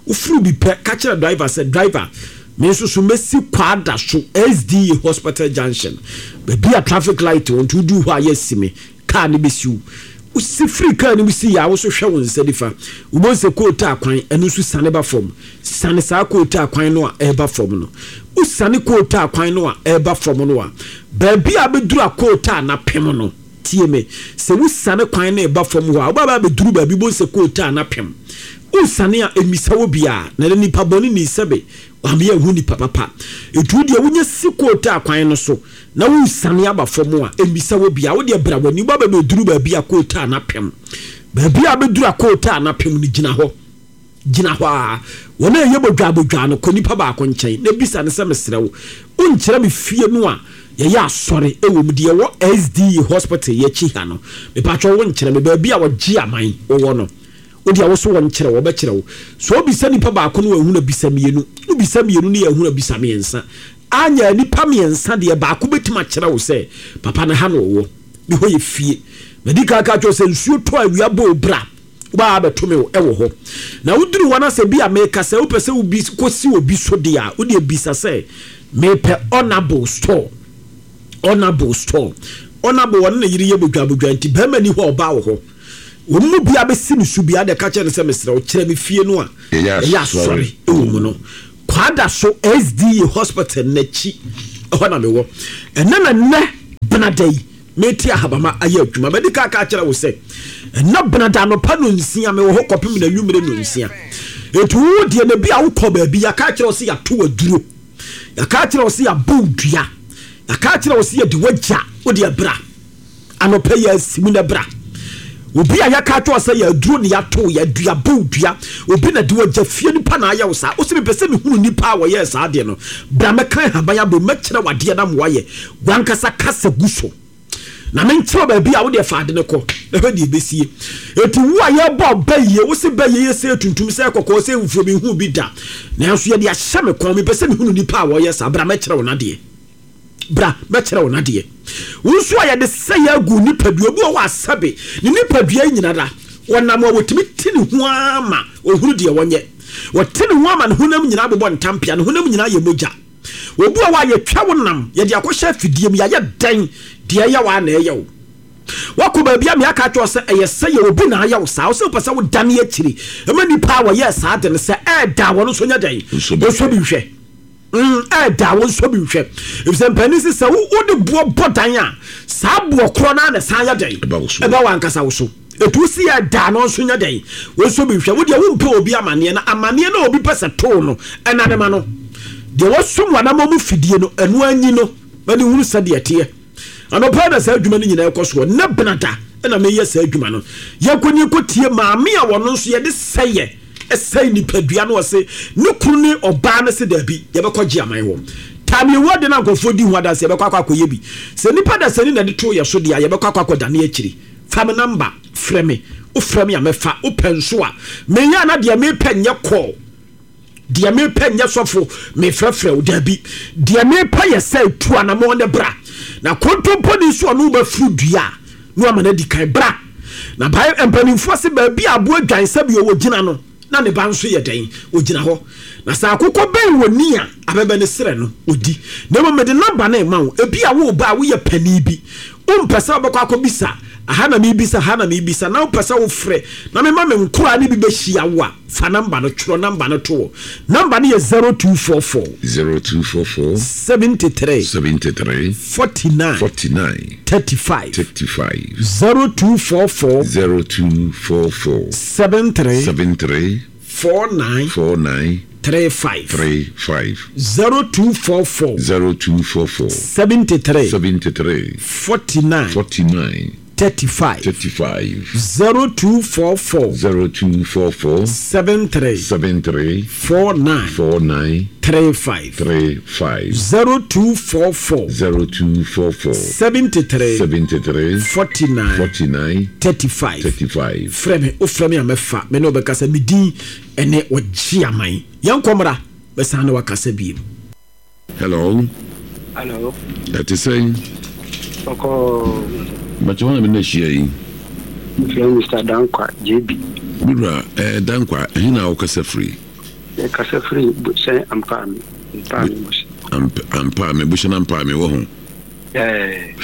S1: Woforo bi pɛ, ka kyerɛ driver sɛ driver, me nso so mɛsi Kwada so S D A Hospital Junction. Baabi a traffic light wɔ nti wodu hɔ a yɛasi me, kaa no bɛsi wo. Wosi firi kaa no mu si yɛ a, wo so hwɛ wo nsa nifa. Wobɛhu sɛ kootaa kwan, ɛno nso siane ba fam. Siane saa kootaa kwan no a ɛreba fam no. Wosiane kootaa kwan no a ɛreba fam no a, baabi a bɛduru a kootaa no apem no, tie me, sɛ wosiane kwan no ɛba fam hɔ a, wobɛba abɛduru baabi wobɛhu sɛ kootaa no apem. Wosiane a, ɛmmisa wɔ biara, na ɛnɛ nipa bɔne ni sɛbe, wameyɛ ho nipa papa. Ɛtu deɛ wonya si kootaa kwan no so, na wosiane aba fam a, ɛmmisa wɔ biara, wodeɛ bra w'ani, wobɛba abɛduru baabi a kootaa no apem. Baabi a bɛduru a kootaa no apem no, gyina hɔ. Gyina hɔ a, wɔn a ɛyɛ bodwa bodwa no, kɔ nipa baako nkyɛn, na bisa no sɛ mesrɛ wo, wonkyerɛ me fie no a yɛyɛ asɔre ɛwɔ mu deɛ ɛwɔ S D E Hospital yɛakyi ha no. Mepatwɛ wonkyerɛ me baabi a wɔgye aman wɔwɔ no. Wode a wo so wɔnkyerɛ wo, wɔbɛkyerɛ wo. So wobisa nipa baako no wɔahunu bisa mmienu, wobisa mmienu no yɛahunu bisa mmiɛnsa. Anya nipa mmiɛnsa deɛ baako bɛtumi akyerɛ wo sɛ papa no ha na ɔwɔ, ne hɔ yɛ fie. Madi kan ka kyerɛ sɛ nsuo tɔ awia bɔ obra, wobaa abɛto me ɛwɔ hɔ. Na woduru hɔ na sɛ bi a meka sɛ wopɛ sɛ wobi kɔsi obi so deɛ a, wode bisa sɛ mepɛ honorable store. Honorable store. Honorable ɔne ne yere yɛ bodwabodwa nti bɛrima ni hɔ ɔbaa wɔ hɔ. Wɔn mu bia bɛsi ne so bia de ka kyerɛ no sɛ mesrɛ wo kyerɛ me fie no a ɛyɛ asɔre ɛwɔ mu no. Kwada so S D A hospital n'akyi ɛhɔ na mewɔ. Ɛnɛ na nnɛ benada yi meti ahabama ayɛ adwuma. Mɛdi ka ka kyerɛ wo sɛ ɛnɛ benada anɔpa no nsia mewɔ hɔ kɔpem na nwumere no nsia. Etu wo deɛ na bi a wokɔ baabi yɛaka kyerɛ wo sɛ yɛato aduro, yɛaka kyerɛ wo sɛ yɛabɔ dua, yɛaka kyerɛ wo sɛ yɛde wagya wo deɛ bra anɔpa yɛ asimu na bra. Obi a yɛaka kyerɛ wo sɛ yɛaduro ne yɛato yɛadua bɔ dua, obi na de wagya fie nipa na ayɛ wo saa. Wo sɛ mepɛ sɛ mehunu nipa a wɔyɛɛ saa deɛ no, bra mɛka haban abɔ mɛkyerɛ wadeɛ na mmoayɛ wankasa kasa gu so na menkyerɛ baabi a wode fa ade ne kɔ na hwɛ deɛ ɛbɛsie. Enti wo a yɛbɔ bɛyie wo se bɛyie yɛ sɛ tuntum sɛ kɔkɔɔ sɛ mfuo mehu bi da, nanso yɛde ahyɛ me kɔn mepɛ sɛ mehunu nipa a wɔyɛ saa. Bra mɛkyerɛ wo nadeɛ, bra mɛkyerɛ wo nadeɛ. Wo nso a yɛde sɛ yɛagu nipadua bi wɔ hɔ asɛbe ne nipadua nyina da wɔnam a wɔtumi te ne ho ama ɔhunu deɛ wɔnyɛ, wɔte ne ho ama ne honam nyinaa bobɔ ntampea, ne honam nyinaa yɛ mogya. Obi a yɛtwa wo nam yɛde akɔhyɛ afidie mu yɛayɛ dɛn deɛ ɛyɛ wo a na ɛyɛ wo. Wakɔ baabi a meaka kyerɛ sɛ ɛyɛ sɛ yɛ obi na ayɛ wo saa, wo sɛ wopɛ sɛ wodane akyiri ɛma nipa a wɔyɛɛ saa de no sɛ ɛɛda wɔn nso nyɛ dɛn nso bi nhwɛ, ɛɛda wɔn nso bi nhwɛ. Efisɛ mpanin sɛ sɛ wode boɔ bɔ dan a saa boɔ korɔ no a na san yɛ dɛn ɛba wɔ ankasa wo so. Etu si ɛda no nso nyɛ dɛn wɔn nso bi nhwɛ. Wo deɛ wompɛ obi amanneɛ na amanneɛ na obi pɛ sɛ too no ɛna ne ma no deɛ wɔsom wɔn mu fidie no ɛno anyi no mɛde hunu sɛdeɛ teɛ. Anɔpa na saa adwuma no nyinaa ɛkɔ soɔ ne benada ɛna meyɛ saa adwuma no. Yɛnkɔ ne yɛnkɔtie maame a wɔno nso yɛde sɛyɛ ɛsɛe nipadua no ɔse ne kunu ne ɔbaa no se daabi yɛbɛkɔ gye aman hɔ. Taame ewu ade na nkurɔfoɔ di ho adanse yɛbɛkɔ akɔ akɔyɛ bi. Sɛ nipa da sani na de to yɛ so deɛ a yɛbɛkɔ akɔ akɔdane akyiri. Fa me namba frɛ me, wofrɛ me a mɛfa, wopɛ nso a meyɛ ana deɛ mepɛ nyɛ kɔɔ, deɛ mepɛ nyɛ sɔfo mefrɛfrɛ wo daabi, deɛ mepɛ yɛ sɛ tu anamɔ ne bra. Na kontompo ni nso ɔno wobɛfuru dua na wama no adi kan bra. Na bae mpanimfoɔ se baabi a aboa dwan sɛ bi ɔwɔ gyina no na ne ba nso yɛ dɛn ogyina hɔ. Na sɛ akokɔ bɛn wɔ ni a abɛbɛ ne serɛ no odi. Na mmom mede namba no ma wo, ebi a wo ba a woyɛ panin bi wompɛ sɛ wobɛkɔ akɔbisa aha na mebisa ha na mebisa na wopɛ sɛ wofrɛ na mema me nkora ne bi bɛhyia wo a, fa namba no twerɛ namba no to hɔ. Namba no yɛ zero two four four
S2: zero two four four
S1: seventy three
S2: seventy three
S1: forty nine
S2: forty nine
S1: thirty five
S2: thirty five
S1: zero two four four
S2: zero two four four
S1: seven three
S2: seven three
S1: four nine
S2: four nine
S1: three five
S2: three five
S1: zero two four four
S2: zero two four four
S1: seventy three
S2: seventy three
S1: forty nine
S2: forty nine
S1: thirty five
S2: thirty five
S1: zero two four four
S2: zero two four four
S1: seven three
S2: seven three
S1: four nine
S2: four nine
S1: three five
S2: three five
S1: zero two four four
S2: zero two four four
S1: seventy three
S2: seventy three
S1: forty nine
S2: forty nine
S1: thirty five
S2: thirty five.
S1: Frɛ me, wofrɛ me a mɛfa me ne wobɛkasa. Me din ɛne ɔgye aman. Yɛnkɔ mmra bɛsan ne wakasa bio.
S2: Hello.
S7: Hello.
S2: Ɛte sɛn?
S7: Ɔkɔ.
S2: Bàtɛ wọn na mi na hyia yi.
S7: Mfrɛ Mister Dankwa J B.
S2: Mewura ɛɛ Dankwa, ɛhe na wokasa firi?
S7: Kasa firi Busɛn Ampaame. Ampaame Busɛn.
S2: Ampaame Busɛn Ampaame wɔ ho.
S7: Ɛɛ.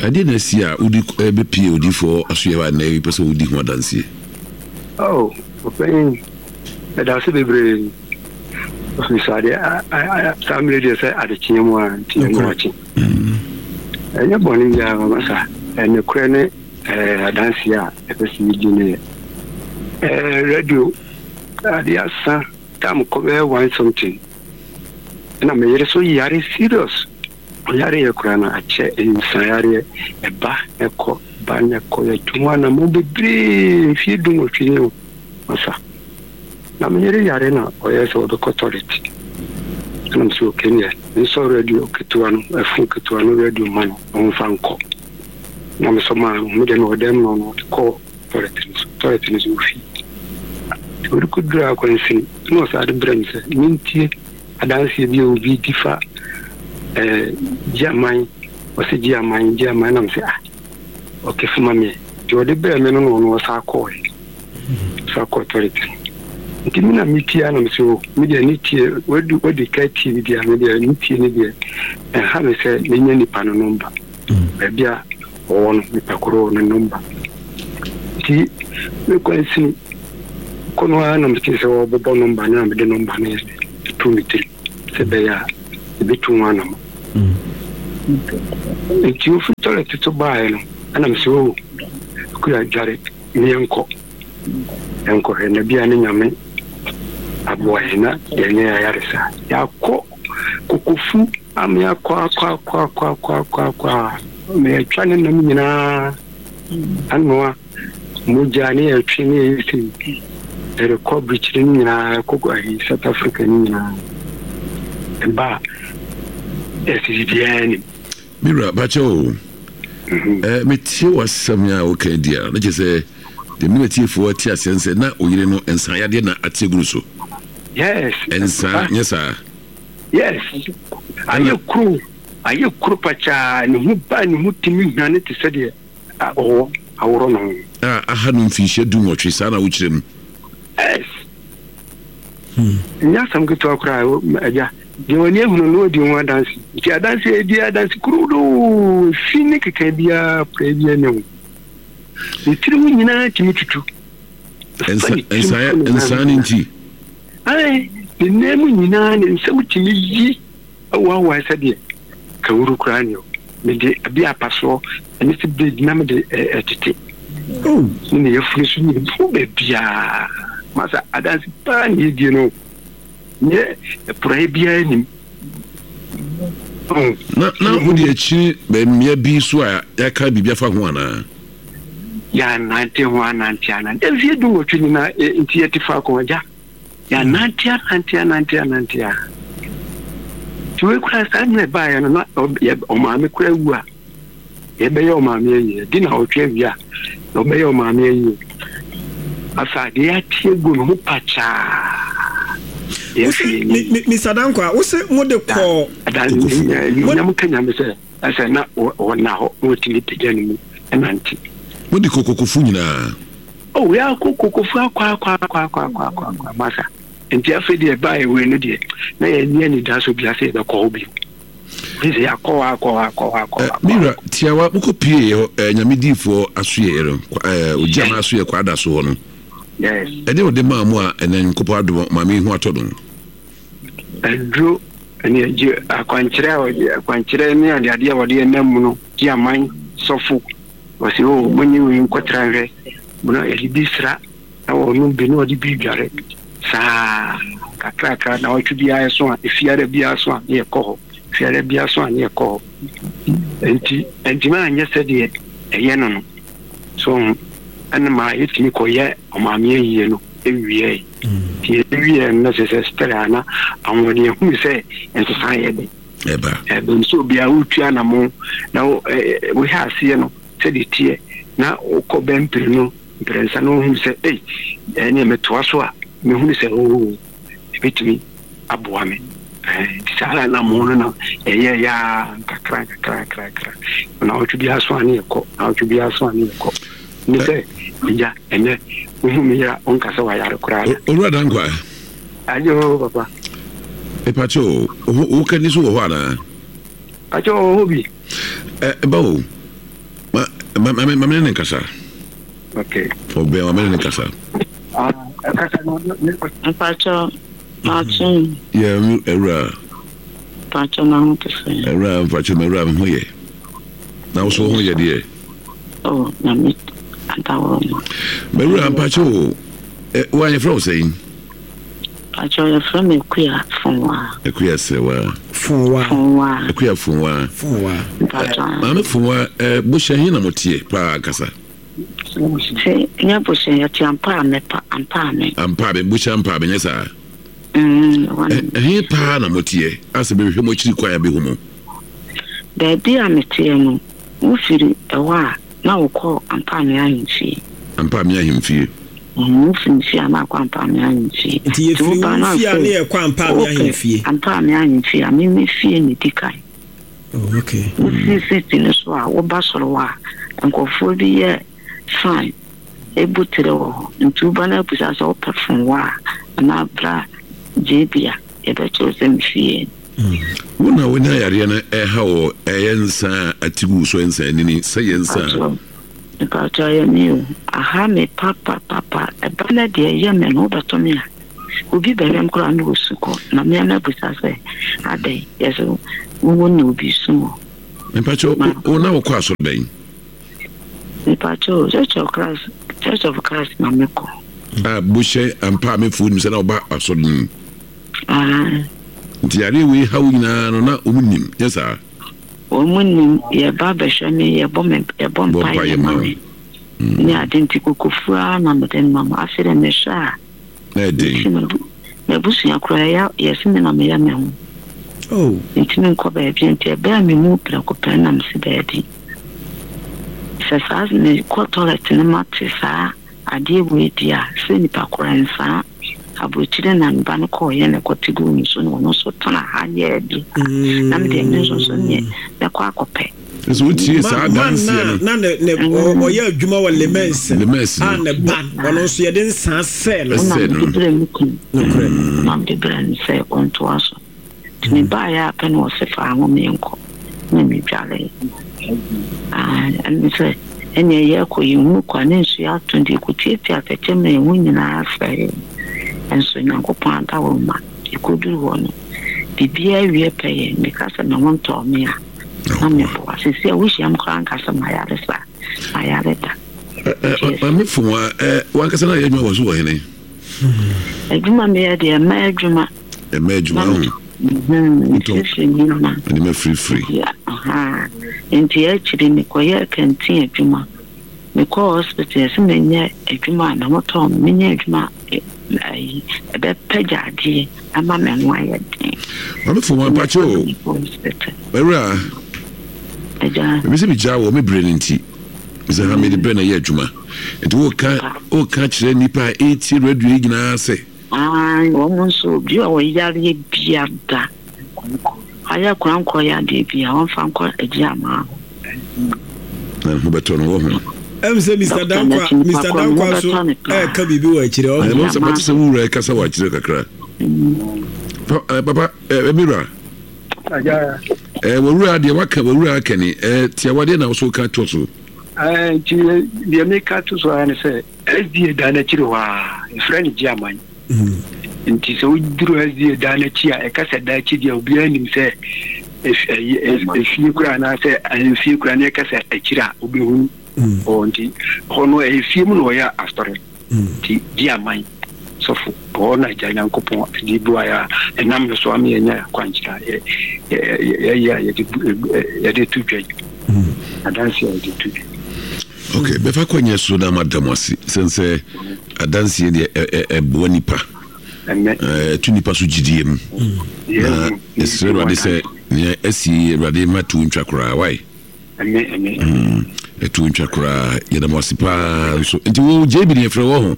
S2: Ɛdeɛ na asi a wodi ɛbɛpie odiifoɔ asoyɛ hɔ a nnɛ pɛ sɛ wodi ho adanseɛ?
S7: Oh, ɔpanyin, ɛda ase bebree. Ɔfiri sɛ adeɛ saa mmerɛ deɛ sɛ adekyeɛ mu a nti ɛno akye. Ɛnyɛ bɔne biara mama sa. Ɛnokorɛ ne adanseɛ a ɛpɛ sɛ yɛdi no yɛ. Radio adeɛ asa tam kɔ bɛyɛ one something. Ɛna meyere so yare serious. Ɔyare yɛ koraa no akyɛ nsayareɛ ɛba ɛkɔ ba na ɛkɔ yɛtu ho anammɔn bebree mfie du nwɔtwe ni o masa. Na meyere yare na ɔyɛ sɛ ɔbɛkɔ toilet. Ɛna mesɛ okay neɛ nsɔ radio ketewa no ɛfo ketewa no radio ma no ɔmfa nkɔ. Na mesɔ maa no medeɛ mewɔ dɛm no ɔno ɔde kɔɔ toilet no so toilet no so ofi. Nti ɔde kɔduru akwansin na ɔsan de brɛ me sɛ mentie adanseɛ bi a obi di fa ɛɛ gye aman ɔsɛ gye aman gye aman na mesɛ ah ɔkɛ fama me nti ɔde brɛ me no na ɔno ɔsan kɔɔɛ ɔsan kɔɔ toilet no. Nti me na metie a na mesɛ o me deɛ ne tie wadi wadi ka tie bi deɛ me deɛ ne tie ne deɛ ɛnha me sɛ menya nipa no nɔmba baabi a ɔwɔ no nipa koro no nɔmba. Nti Mekɔ nsini kɔ no ara na mete sɛ wɔbobɔ nɔmba no na mede nɔmba no to me tiri sɛ ɛbɛyɛ a ɛbɛtu ho anam. Nti ofiri toilet so baeɛ no ɛna mesɛ o kura dware ne yɛnkɔ yɛnkɔhwɛ na bia ne Nyame aboa yɛn na yɛnyɛ ayaresa. Yɛakɔ kokofu ama yɛakɔ akɔ akɔ akɔ akɔ akɔ akɔ a ma yɛatwa ne nam nyinaa anoa mogya ne yɛtwe ne yɛyɛ sei ɛrekɔ birikyiri no nyinaa ɛkɔ ayi South Africa no nyinaa ɛba a ɛsɛ biribiara nim.
S2: Mira bakyɛ o eh, metie w'asɛm a woka di a na kyerɛ sɛ deɛ mene tiefoɔ ate aseɛ sɛ na oyere no nsa yadeɛ na ate agu no so.
S7: Yes.
S2: Nsa nyɛ saa.
S7: Yes. Ayɛ kuro ayɛ kuro pakyaa ne ho ba ne ho tumi hwane te sɛ deɛ ɔwɔ aworɔ no ho.
S2: A aha no mfinhyia du nwɔtwe saa na wokyerɛ mu.
S7: Yes. Nyɛ asɛm ketewa koraa agya deɛ w'ani ahunu no wadi ho adanse nti adanse a ɛdi adanse kurodoo fi ne keka biara pra biara ne ho ne tiri ho nyinaa tumi tutu.
S2: Nsa ne nti
S7: ae ne nan mu nyinaa ne nsam tumi yi awoawoa sɛdeɛ kawuru koraa ne mede abi apasoɔ ɛne sɛ bed na mede ɛtete ne ne yɛfunu so nyina bu baabiaa masa adanse paa ne yɛdie no nyɛ ɛporaeɛ biara nim.
S2: Na na wode akyiri mmea bi so a yɛaka biribi afa ho anaa?
S7: Yɛanante ho anante anante mfeɛ du nwɔtwe nyinaa nti yɛte faako agya yɛanante anante anante anante a nti wei koraa saa mmerɛ baeɛ no na ɔmaame koraa wu a yɛbɛyɛ ɔmaame ayie di na ɔtwe awie a na ɔbɛyɛ ɔmaame ayie afa adeɛ ate agu ne ho pakyaa.
S4: Mister Dankwa, wo se mo de kɔ
S7: nyam ka nyame sɛ ɛsɛ na ɔna hɔ na ɔtumi pagya ne mu ɛnante.
S2: Mo de kɔ kokofu nyinaa?
S7: Oh, yɛakɔ kokofu akɔ akɔ akɔ akɔ akɔ akɔ akɔ masa nti afei deɛ ɛbaeɛ wei no deɛ na yɛnyɛ anidaso bia sɛ yɛbɛkɔ hɔ bio sɛ yɛakɔ hɔ akɔ hɔ akɔ hɔ akɔ hɔ.
S2: Mira tiawa mokɔ pie hɔ nyame diifoɔ asoyɛ no ogya ma asoyɛ kɔ ada so hɔ no.
S7: Yes.
S2: Ɛde ɔde maa mu a ɛnɛ nkopɔ adom maame ho atɔ no.
S7: Aduro ɛne agye akwankyerɛ a ɔde akwankyerɛ ne adeade a wɔde ɛnam mu no gye aman sɔfo wɔsi o monye wei nkɔtra nhwɛ na yɛde bi sra na wɔnom bi na wɔde bi dware saa kakrakra na wɔtwe biara so a efiara biara so a ne yɛkɔ hɔ fiara biara so a ne yɛkɔ hɔ nti ntoma anyɛ sɛdeɛ ɛyɛ no no so ɛne ma yɛtumi kɔyɛ ɔmaame ayie no ewie nti ewie no sɛ sɛ stɛrɛ ana ahoɔden ehunu sɛ nsesa yɛ de
S2: ɛba
S7: ɛbɛn so obiara wotua na mo na wohɛ aseɛ no sɛdeɛ teɛ na wokɔ bɛmpere no mprɛnsa na wohunu sɛ ei ɛne metoa so a mehunu sɛ oo ebɛtumi aboa me nti saa na mo no na ɛyɛ yaa nkakra nkakra nkakra na wotwe biara so a ne yɛkɔ na wotwe biara so a ne yɛkɔ ne sɛ agya ɛnɛ wohu me yera wonka sɛ wayare koraa.
S2: Owura Dankwa.
S7: Ayo papa.
S2: Mepakyɛ o wo kani so wɔ hɔ anaa?
S7: Pakyɛ wɔ hɔ bi.
S2: Ɛba o ma ma ma ma mene ne nkasa.
S7: Okay.
S2: Ɔbɛn ma mene ne nkasa.
S7: Ah, ɛkasa no
S8: Mpakyɛ maakye.
S2: Yɛ awura.
S8: Mpakyɛ na ho te sɛ.
S2: Awura mpakyɛ ma awura me ho yɛ. Na wo so ho yɛ deɛ?
S8: Oh, na me adaworo ma.
S2: Mawura mpakyɛ o wo a yɛfrɛ wo sɛn?
S8: Mpakyɛ yɛfrɛ me Akua Fonwa.
S2: Akua Sɛwa.
S4: Fonwa.
S8: Fonwa.
S2: Akua Fonwa.
S4: Fonwa.
S8: Mpakyɛ.
S2: Maame Fonwa, bohyɛ he na moteɛ paa kasa?
S8: Sɛ nyɛ bohyɛ yɛte ampa a pa ampa a
S2: Ampa a bohyɛ ampa a nyɛ saa.
S8: Mm,
S2: ɛhe paa na moteɛ asɛ bɛhwehwɛ mo akyiri kwan a bɛhu mo?
S8: Baabi a meteɛ no, wofiri ɛhɔ a na wokɔ ampa me ahemfie.
S2: Ampa me ahemfie.
S8: Wofiri fie a na akɔ ampa me ahemfie.
S4: Nti yɛfiri wo fie a ne yɛkɔ ampa me ahemfie.
S8: Ampa me ahemfie a meme fie ne di kan.
S4: Oh, okay.
S8: Wofiri city no so a woba soro hɔ a nkurɔfoɔ bi yɛ fine ebu tere wɔ hɔ nti woba no abusa sɛ wopɛ fon wɔ a anaa bra gye bi a yɛbɛkyerɛw sɛ me fie.
S2: Wo na wonya yareɛ no ɛha wɔ ɛyɛ nsa a atigu so nsa anini sɛ yɛ nsa a
S8: Mepakyɛw ɛyɛ me o. Aha me papapapa. Ɛba no deɛ ɛyɛ me no wobɛtɔ me a obi bɛhwɛ me koraa na ɔsu kɔ na me a mabisa sɛ adɛn yɛsɛ wowɔ na obi su wɔ.
S2: Mepakyɛw wo na wokɔ asɔre bɛn?
S8: Mepakyɛw Church of Christ Church of Christ na mekɔ.
S2: A bohyɛ ampa a mefuo nim sɛ na ɔba asɔre no mu.
S8: Ah.
S2: Nti yareɛ wei ha wo nyinaa no na wɔn nim nyɛ saa?
S8: Wɔn nim, yɛba bɛhwɛ me, yɛbɔ me yɛbɔ mpaeɛ ma me ne ade nti kokofuo ara na mede nam. Afei deɛ mehwɛ a,
S2: Na ɛden.
S8: M'abusua koraa yɛ yɛse me na meyɛ me ho.
S4: Oh.
S8: Mentumi nkɔ baabi nti ɛbaa me mu prɛko pɛ na mese daabi. Sɛ saa mekɔ toilet no mate saa adeɛ wei deɛ a sɛ nipa korɔ nsaa. Aburokyire na me ba no kɔɔeɛ na ɛkɔte guu me so na ɔno nso tena ha yɛɛ bi na me deɛ me nso nso neɛ mɛkɔ akɔpɛ.
S2: Nso wotie saa adanseɛ no.
S4: Na ne ne ɔyɛ adwuma wɔ Lemens
S2: Lemens
S4: a ne ba ɔno nso yɛde nsaa sɛɛ no.
S8: Ɛna
S2: Sɛɛ no.
S8: mede brɛ me kunu.
S4: Nokorɛ.
S8: Na mede brɛ no sɛ ɔntoa so. Nti mebaeɛ a pɛ na ɔse fa ho menkɔ na medwaree. Ah, ɛne sɛ ɛneɛ yɛkɔ yɛhunu kɔ a ne nsuo atɔ nti yɛkɔtiatia atɛkyɛ ma yɛn ho nyinaa sɛee. Nso Nyankopɔn adaworoma yɛkɔduru hɔ no biribiara wie pɛ yɛ meka sɛ me ho ntɔɔ me a na meboa. Seesei a wohyia me koraa nka sɛ mayare saa, mayare da.
S2: Maame Fomwa, wankasa na yɛ adwuma wɔ so wɔ hene?
S8: Adwuma meyɛ deɛ mmaa adwuma.
S2: Mmaa adwuma ho.
S8: Mesiesie nneɛma.
S2: Nneɛma firifiri.
S8: Nti akyiri mekɔyɛɛ kantin adwuma. Mekɔɔ hospital yɛsɛ menyɛ adwuma a me ho tɔɔ me, menyɛ adwuma ayi ɛbɛpɛgya adeɛ ama me ho ayɛ den.
S2: Maame Fomwa mpakyɛ o. Mawura.
S8: Agya.
S2: Ebi sɛ megyaa wɔ me berɛ no nti. Sɛ ha mede berɛ na ɛyɛ adwuma. Nti woka woka kyerɛ nnipa a ɛretie radio yi nyinaa sɛ.
S8: Aane, wɔn nso obi a ɔyareɛ biara, ayɛ korankɔ yadeɛ biara, wɔmfa nkɔ Agyiamaa hɔ.
S2: Na ne ho bɛtɔ no wɔ ho.
S4: Ɛm sɛ Mister Dankwa, Mister Dankwa nso ɛɛka biribi wɔ akyire hɔ.
S2: Ɛm sɛ mate sɛ wo wura ɛkasa wɔ akyire kakra. Pa, papa, ɛɛ mi wura. Ɛɛ wɔ deɛ waka wɔ wura aka ni ɛɛ tiawa deɛ na wɔso ka to so.
S7: Ɛɛ nti deɛ meka to so ara ne sɛ S D A dan n'akyiri hɔ a yɛfrɛ no Gyeaman. Nti sɛ woduru S D A dan n'akyi a ɛka sɛ dan akyi deɛ obiara nim sɛ efie kura anaasɛ ahemfie kura ne ɛka sɛ akyiri a wobɛhunu hɔ nti hɔ no ɛyɛ fie mu na ɔyɛ asɔre nti Gyeaman sɔfo hɔ na agya Nyankopɔn de buaeɛ a ɛnam no so ama yɛnya akwankyerɛ a yɛyɛ a yɛde to dwa yi adanse a yɛde to dwa.
S2: Okay, bɛfa kwanya so na mada mo ase sɛn sɛ adanseɛ deɛ ɛboa nipa ɛto nipa so gyidie mu na ɛsrɛ Awurade sɛ nea asi Awurade ma to ntwa koraa wae ɛto ntwa koraa yɛda mo ase paa nso nti wo J B deɛ frɛ wɔ ho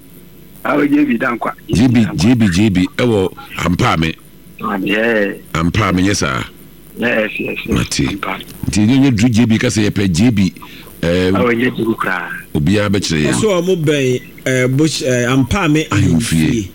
S2: J B J B J B ɛwɔ Ampaame Ampaame nyɛ saa.
S7: Yes, yes, yes.
S2: Mate. Nti nyɛ nyɛ duru J B ka sɛ yɛpɛ J B.
S7: Ɛɛ nyɛ duru koraa.
S2: Obiara bɛkyerɛ yɛn.
S4: Ɔsɛ ɔmo bɛn ɛɛ bush ɛɛ Ampaame ahemfie.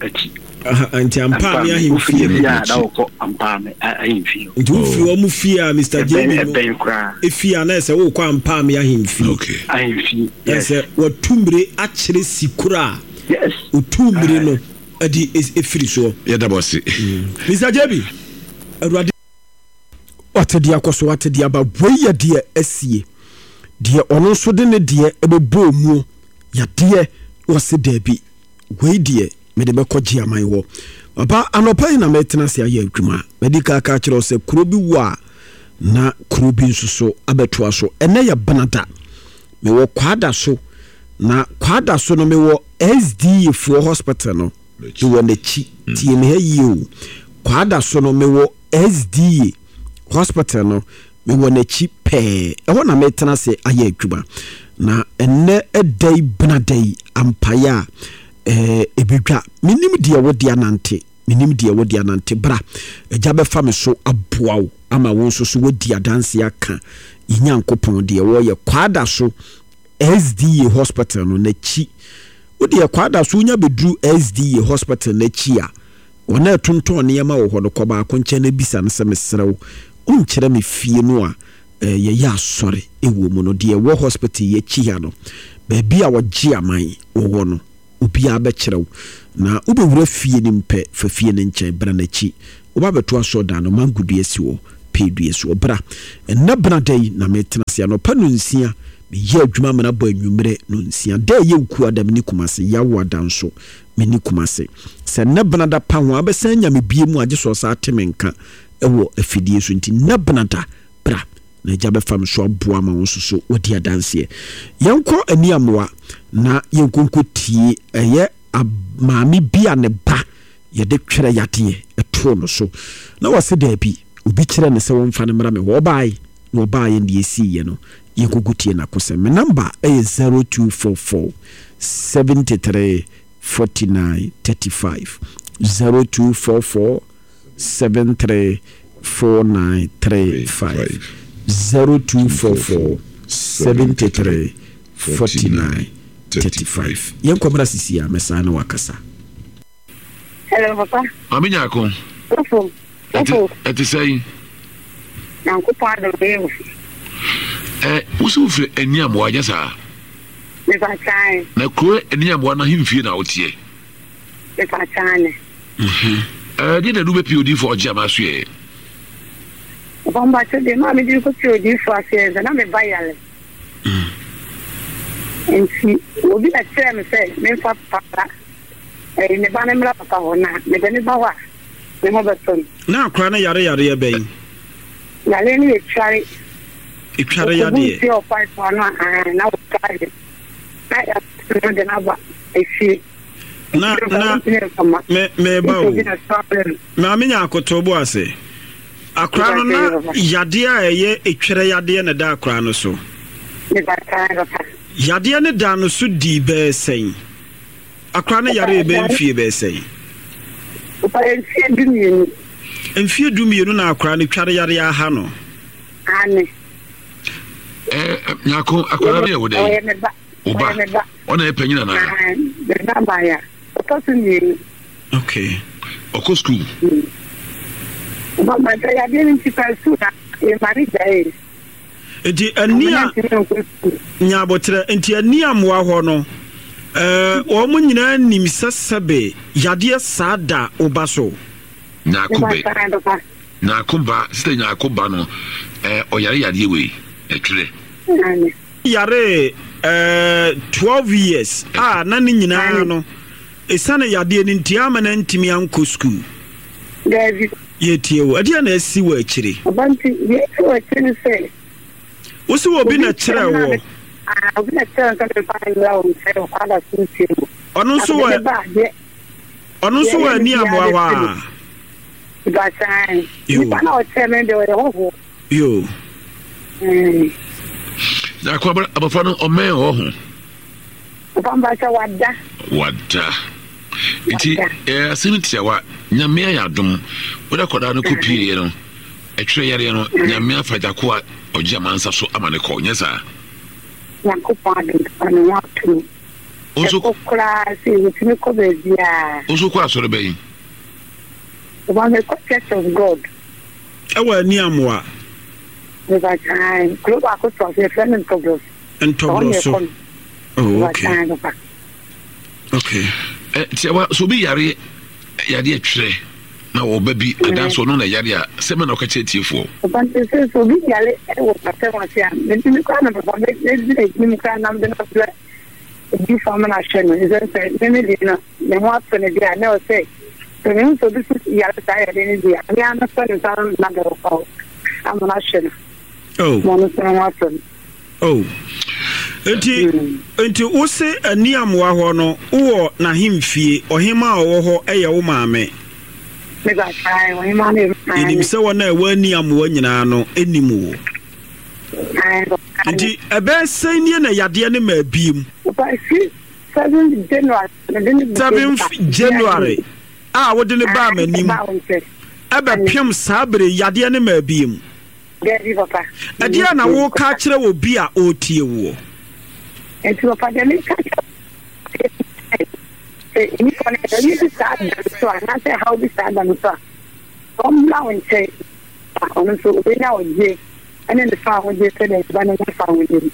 S7: Akyi.
S4: Nti Ampaame ahemfie.
S7: Wofiri a na wɔkɔ Ampaame ahemfie.
S4: Nti wofiri ɔmo fie a Mister J B no.
S7: Ɛbɛn koraa.
S4: Efie a na ɛsɛ wokɔ Ampaame ahemfie.
S2: Okay.
S7: Ahemfie. Yes.
S4: Ɛsɛ wɔtu mmire akyerɛ si koro a.
S7: Yes.
S4: Otu mmire no ɛde efiri soɔ.
S2: Yɛda mo ase.
S4: Mister J B. Awurade wate deɛ akɔ so wate deɛ aba wei yɛ deɛ asie deɛ ɔno nso de ne deɛ ɛbɛbɔ mu yadeɛ wɔse daabi wei deɛ mede bɛkɔ gye aman hɔ papa anɔpa yi na mɛtena ase ayɛ adwuma mɛdi kaka kyerɛ sɛ kuro bi wɔ a na kuro bi nso so abɛtoa so ɛnɛ yɛ benada mewɔ kwada so na kwada so no mewɔ S D A foɔ hospital no mewɔ n'akyi tie me ha yie o kwada so no mewɔ S D A hospital no mewɔ n'akyi pɛɛ ɛhɔ na metena ase ayɛ adwuma na ɛnɛ ɛda yi benada yi ampaeɛ a ɛɛ ebedwa menim deɛ wode anante menim deɛ wode anante bra agya bɛfa me so aboa wo ama wo nso so wadi adanse aka Nyankopɔn deɛ wɔyɛ kwada so S D A hospital no n'akyi wode kwada so wonya bɛduru S D A hospital n'akyi a wɔn a ɛtontɔn nneɛma wɔ hɔ no kɔ baako nkyɛn na bisa no sɛ mesrɛ wo wonkyerɛ me fie no a eh, yɛyɛ asɔre ɛwɔ mu no, deɛ ɛwɔ hospital yɛakyi ha no, baabi a wɔgye aman wɔwɔ no, obiara bɛkyerɛ wo. Na wobɛwura fie no mpɛ, fa fie no nkyɛn, bra n'akyi. Woba bɛto asɔredan no, mango dua si hɔ, pee dua si hɔ. Bra. Ɛnnɛ bena da yi na metena ase anɔpa nonsia, meyɛ adwuma amena bɔ anwummerɛ nonsia. Da ɛyɛ Ukuada meni Kumase, Yawoada nso meni Kumase. Sɛ nnɛ bena da pa ho a, wobɛsan anya me bie mu a, gye sɛ ɔsan te me nka wɔ afidie so. Nti nnɛ bena da, bra na Agya bɛfa me so aboa ma wo nso so wadi adanseɛ. Yɛnkɔ Aniamoa na yɛnkɔ nkɔtie ɛyɛ maame bi a ne ba yɛde twerɛ yadeɛ ɛtoo no so na wɔse daabi, obi kyerɛ no sɛ wɔmfa no mmra me hɔ. Ɔbae na ɔbaeɛ deɛ ɛsiiɛ no, yɛnkɔkɔ tie n'akosɛm. Me namba ɛyɛ zero two four four seventy three forty nine thirty five, zero two four four seven three four nine three five, zero two four four seventy three forty nine thirty five. Yɛnkɔ mmra sisi a mɛsan ne wakasa.
S9: Hello, papa.
S2: Maame Nyako.
S9: Ofo. Ofo.
S2: Ɛte sɛn?
S9: Nyankopɔn adom yɛ o.
S2: Ɛ wosi wofiri Aniamoa nyɛ saa?
S9: Mepa kyan.
S2: Na kuro Aniamoa no ahemfie na woteɛ?
S9: Mepa kyan ne.
S2: Ɛɛ deɛ na ɛde wobɛpie odiyifoɔ ɔgye ama so yɛ?
S9: Papa mbakyɛ deɛ maa mede kɔpie odiyifoɔ ase yɛ sɛ na me ba yare. Nti obi na kyerɛɛ me sɛ memfa papa ɛyi me ba no mmra papa hɔ na mede ne ba hɔ a ne ho bɛtɔ no.
S1: Na akora no yare yareɛ bɛn?
S9: Yareɛ no yɛ tware.
S1: Etware yadeɛ.
S9: Ɔkɔbu nsuo wɔ pipe ano a na wɔtware na yɛato no de no aba efie.
S1: Na na me meba o. Maame nya akoto bo ase. Akora no na yadeɛ a ɛyɛ etwere yadeɛ na ɛda akora no so. Yadeɛ no da no so dii bɛɛ sɛn? Akora no yare bɛɛ mfie bɛɛ sɛn?
S9: Mfie du mmienu.
S1: Mfie du mmienu na akora no tware yareɛ aha no.
S9: Ane.
S2: Eh, Nyako, akora no yɛ wo dɛn? Wo ba. Ɔna yɛ panyin anaa?
S9: Me ba baaya. Ɔtɔ so mmienu.
S1: Okay.
S2: Ɔkɔ school?
S9: Ɔba ma sɛ yadeɛ no nti fa school na yɛma ne gyae.
S1: Nti ani a nya abotrɛ nti ani a mmoa hɔ no ɛɛ wɔn nyinaa nim sɛ sɛbe yadeɛ saa da wo ba so.
S2: Nyako bɛ nyako ba sɛ nyako ba no ɛɛ ɔyare yadeɛ wei ɛtwerɛ.
S1: Yare ɛɛ twelve years a na ne nyinaa no esiane yadeɛ no nti ama na ntumi ankɔ sukuu.
S9: Daabi.
S1: Yɛtie wo. Ɛdeɛ na asi wɔ akyire?
S9: Ɔba nti deɛ asi wɔ akyire ne sɛ.
S1: Wosi wɔ obi na kyerɛ wɔ.
S9: Obi na kyerɛ nsa mefa mmra wo nkyɛn wɔ kwada so nsuo mu.
S1: Ɔno nso wɔ ɔno nso wɔ ani amoa hɔ a.
S9: Basan. Nipa na ɔkyerɛ me deɛ ɔyɛ hɔhoɔ.
S1: Yo.
S2: Na akɔ abɔfra no ɔmɛn hɔ ho.
S9: Ɔba mbakyɛ wada.
S2: Wada. Nti eh, asɛm tiawa, Nyame ayɛ adom, wode akwadaa no kɔpieeɛ no, ɛtwerɛ yareɛ no, Nyame afa gyako a ɔgye amansa so ama ne kɔ, nyɛ saa?
S9: Nyankopɔn adom papa ne ho ato no. Ɛkɔ koraa sɛ wɔtumi kɔ baabiaa.
S2: Wo nso kɔ asɔre bɛn?
S9: Ɔba mekɔ Church of God.
S1: Ɛwɔ ani amoa.
S9: Mebakyɛn, kuro baako toa so, yɛfrɛ no Ntɔbrɔ
S1: so. Ntɔbrɔ so. Oh, okay.
S2: Okay. Eh, tiawa, so obi yare yadeɛ twerɛ na ɔba bi adanso ɔno na yare a sɛ mɛ na ɔka kyerɛ tiefoɔ.
S9: Papa nti sɛ sɛ obi yare wɔ pasɛm ase a metumi koraa na papa mɛgyina anim koraa na mede no abrɛ obi fa ma no ahwɛ no ɛsɛ sɛ me me deɛ no ne ho ato no deɛ a na ɛwɔ sɛ sɛ mehu sɛ obi so yare saa yadeɛ no bi a me ara mɛsɔ ne nsa na de ɔfa ama no ahwɛ no
S1: Oh.
S9: ma ɔno nso ne ho atɔ no.
S1: Oh. Nti, nti wose ani amoa hɔ no, wowɔ n'ahemfie, ɔhema a ɔwɔ hɔ yɛ wo maame. Yɛnim sɛ wɔn a ɛwɔ ani amoa nyinaa no nim wo. Nti ɛbɛyɛ sɛn nie na yadeɛ no maa biem? Seventh January a wode no baa m'anim ɛbɛpem saa bere yadeɛ no maa biem.
S9: Dabi, papa.
S1: Ɛdeɛn na woreka akyerɛ obi a ɔretie woɔ?
S9: Nti papa, deɛ meka kyerɛ sɛ nnipa no ɛyɛ bi saa da no so a anaasɛ ɛhaw bi saa da no so a, ɔmmra wo nkyɛn na ɔno nso ɔbɛnya ɔgye Ɛne ne fa ahodie sɛdeɛ ne ba no nya fa ahodie no.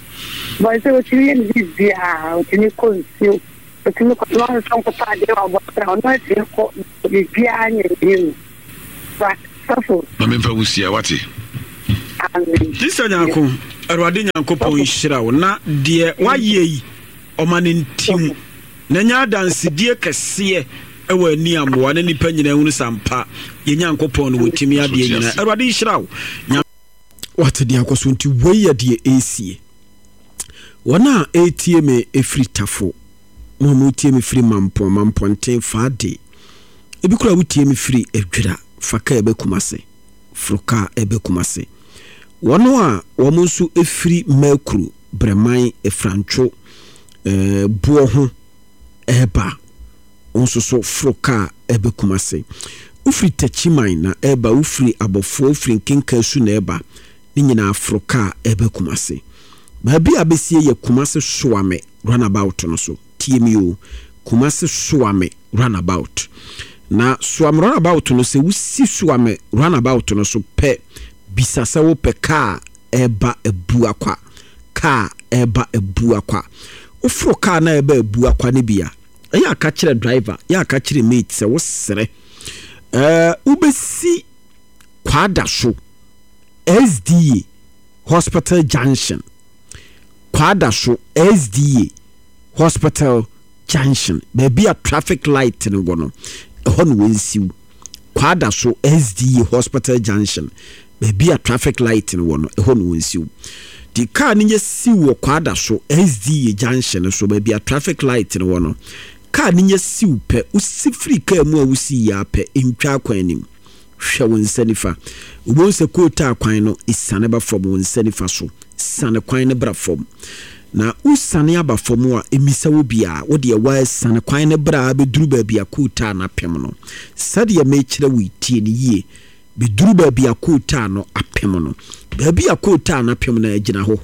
S9: Bɔn sɛ otumi yɛ ne biribiara, otumi kɔ nsuo, otumi kɔ soma nso nkɔtɔ adeɛ wɔ abɔnten a, ɔno atumi kɔ biribiara nyɛ ne yie mu. Ba sɔfo.
S2: Ma memfa wo sia, wate?
S9: Amen.
S1: Sister Nyarko, Awurade Nyankopɔn nhyira wo na deɛ wayɛ yi ɔma no ntim na ɛnyɛ adansedie kɛseɛ ɛwɔ ani amoa na nnipa nyinaa hunu sɛ ampa yɛn Nyankopɔn no wɔtumi adeɛ nyinaa. Awurade nhyira wo. Nyame.
S4: Wate deɛ akɔ so nti wei yɛ deɛ ɛresie. Wɔn a ɛretie me ɛfiri Tafo, mo a moretie me firi Mampɔn, Mampɔnten, Faade, ebi koraa wotie me firi Adwira, fa kaa ɛbɛ Kumase, foro kaa ɛbɛ Kumase. Wɔn a wɔn nso ɛfiri Mɛkuru, Brɛman, Efrantwo, ɛɛ Boɔ ho ɛreba, wo nso so foro kaa ɛbɛ Kumase. Wofiri Takyiman na ɛreba, wofiri Abɔfoɔ, wofiri Nkenkasu na ɛreba, ne nyinaa foro kaa ɛbɛ Kumase. Baabi a bɛsie yɛ Kumase Soame runabout no so. Tie me o, Kumase Soame runabout. Na Soame runabout no, sɛ wosi Soame runabout no so pɛ, bisa sɛ wopɛ kaa ɛreba Abuakwa. Kaa ɛreba Abuakwa. Woforo kaa na ɛreba Abuakwa no bi a, ɛyɛ a ka kyerɛ driver, yɛ a ka kyerɛ mate sɛ wosrɛ. Ɛɛ, wobɛsi Kwada so, S D A Hospital Junction. Kwada so, S D A Hospital Junction. Baabi a traffic light no wɔ no, ɛhɔ na wɔnsiw. Kwada so, S D A Hospital Junction. Baabi a traffic light no wɔ no, ɛhɔ na wɔnsiw. Di kaa no nyɛ siw wɔ Kwada so, S D A Junction so, baabi a traffic light no wɔ no. Kaa no nyɛ siw pɛ, wosi firi kaa mu a wosi yie apɛ, ntwa akwan anim. Hwɛ wo nsa nifa. Wobɛhu sɛ kootaa kwan no esiane ba fam wo nsa nifa so. Siane kwan no bra fam. Na wosiane aba fam a, mmisa wo biara. Wo deɛ woasiane kwan no bra ara bɛduru baabi a kootaa no apem no. Sɛdeɛ merekyerɛ wo yi, tie no yie. Bɛduru baabi a kootaa no apem no. Baabi a kootaa no apem no, gyina hɔ.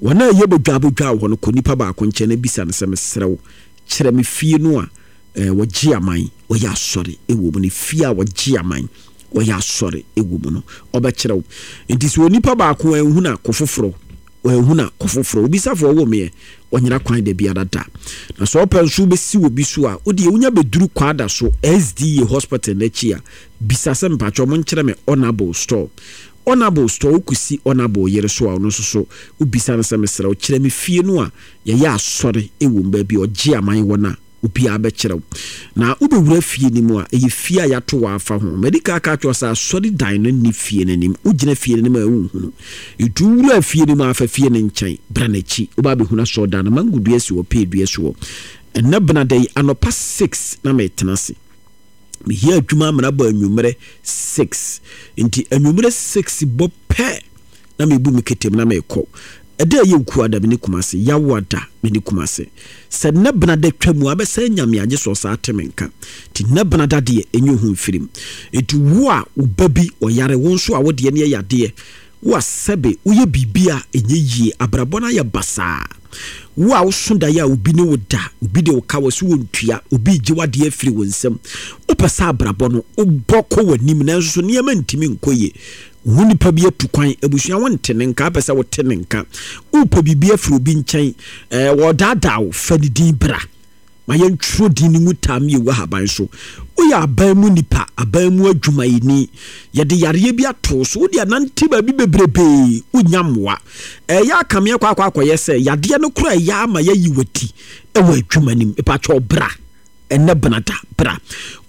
S4: Wɔn a ɛyɛ bodwaabodwaa wɔ hɔ no, kɔ nipa baako nkyɛn na bisa no sɛ, mesrɛ wo, kyerɛ me fie no a eh, wɔgye aman, wɔyɛ asɔre wɔ mu no, fie a wɔgye aman, wɔyɛ asɔre wɔ mu no, ɔbɛkyerɛ wo. Nti sɛ onipa baako anhu no a, kɔ foforɔ, wanhu no a, kɔ foforɔ. Obisafo ɔwɔ meɛ, ɔnyera kwan da biara da. Na sɛ ɔpɛ nso wobɛsi wɔ bi so a, wodeɛ wonya bɛduru Kwada so S D A Hospital no akyi a, bisa sɛ mpakyɛ ɔmo nkyerɛ me Honorable Store. Honorable Store, wokɔsi Honorable yere so a, ɔno nso so wobisa no sɛ mesrɛ wo, kyerɛ me fie no a yɛyɛ asɔre wɔ mu, baabi a ɔgye aman wɔ no a, obiara bɛkyerɛ wo. Na wobɛwura fie no mu a, ɛyɛ fie a yɛato wɔ afa ho. Madi kan aka akyerɛ wo sɛ asɔredan no nni fie no anim. Wogyina fie no anim a, wonhunu. Nti wowura fie no mu a, fa fie no nkyɛn, bra n'akyi. Woba abɛhunu asɔredan no. Mango dua si hɔ, pear dua si hɔ. Ɛnnɛ benada yi, anɔpa six na metena ase. Mehia adwuma amena bɔ anwummerɛ six. Nti anwummerɛ six bɔ pɛ na mebu me ketem na mekɔ. Ɛda a ɛyɛ Okuada me ne Kumase, Yawoada me ne Kumase. Sɛ nnɛ benada twa mu a, abɛsan anya me agye sɛ ɔsaa te me nka. Nti nnɛ benada deɛ, ɛnyɛ ohu mfirim. Nti wo a wo ba bi ɔyare, wo nso a wo deɛ no yɛ yadeɛ, wo a sɛbe woyɛ biribi a ɛnyɛ yie, abrabɔ no ayɛ basaa. Wo a woso daeɛ a obi ne wo da, obi de wo ka wɔ so wɔntua, obi regye w'adeɛ afiri wo nsam. Wopɛ sɛ abrabɔ no wobɔ kɔ w'anim nanso so nneɛma ntumi nkɔ yie. Wo nipa bi atu kwan, abusua wo nte ne nka, apɛ sɛ wote ne nka. Wopɛ biribi afiri obi nkyɛn, ɛɛ wɔdaadaa wo, fa ne din bra. Ma yɛntwerɛ din no ngu taa mmienu ahaban so. Woyɛ aban mu nipa, aban mu adwumayɛni. Yɛde yareɛ bi ato wo so, wode anante baabi bebrebee, wonnya mmoa. Ɛyɛ akameɛ kɔ akɔ akɔyɛ sɛ yadeɛ no koraa ɛyɛ ama yɛayi w'ati wɔ adwuma no mu. Mepakyɛw bra. Ɛnnɛ benada, bra.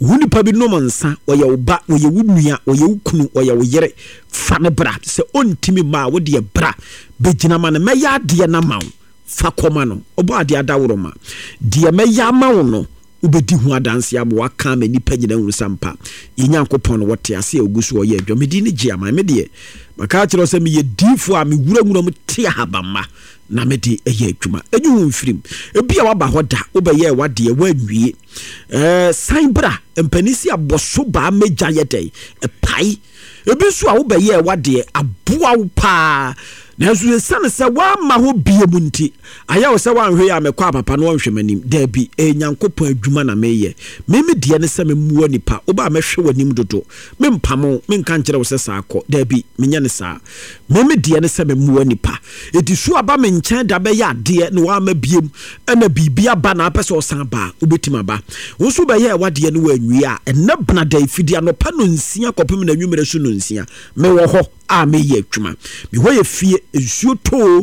S4: Wo nipa bi nom nsa, ɔyɛ wo ba, ɔyɛ wo nua, ɔyɛ wo kunu, ɔyɛ wo yere, fa no bra. Sɛ ɔntumi mma a, wo deɛ bra. Bɛgyina ma no, mɛyɛ adeɛ no ama wo. Fa kɔma no. Ɔbɔ adeɛ adaworo ma. Deɛ mɛyɛ ama wo no, wobɛdi ho adanseɛ ama waka ama nnipa nyinaa ahunu sɛ ampa, yɛn Nyankopɔn no, ɔte ase a ɔgu so ɔyɛ adwuma. Me din ne Gye Aman. Me deɛ, maka akyerɛ wo sɛ meyɛ diifoɔ a mewura nwura mu te ahabamma na mede ɛyɛ adwuma. Ɛnyi wo mfirim. Ebi a waba hɔ da, wobɛyɛɛ w'adeɛ, woanwie. Ɛɛ, san bra. Mpanin si abɔso baa mɛgya yɛ dɛn? Ɛpae. Ebi nso a wobɛyɛɛ w'adeɛ, aboa wo paa.
S1: Nanso esiane sɛ woamma hɔ bio mu nti, ayɛ wo sɛ woanhwɛ yie a mekɔ a papa no ɔnhwɛ m'anim. Daabi, ɛyɛ Nyankopɔn adwuma na meyɛ. Me me deɛ ne sɛ memmoa nnipa. Woba a mɛhwɛ w'anim dodo. Mempamo wo, menka nkyerɛ wo sɛ saa kɔ. Daabi, menyɛ no saa. Me me deɛ ne sɛ memmoa nnipa. Enti so aba me nkyɛn da bɛyɛ adeɛ na woamma biom ɛna biribi aba na apɛ sɛ ɔsan ba a, wobɛtumi aba. Wo nso wobɛyɛɛ w'adeɛ no woanwie a, ɛnnɛ benada yi, fidi anɔpa nnɔnsia kɔpem n'anwummerɛ so nnɔnsia, mewɔ hɔ a meyɛ adwuma. Me hɔ yɛ fie, nsuo tɔ o,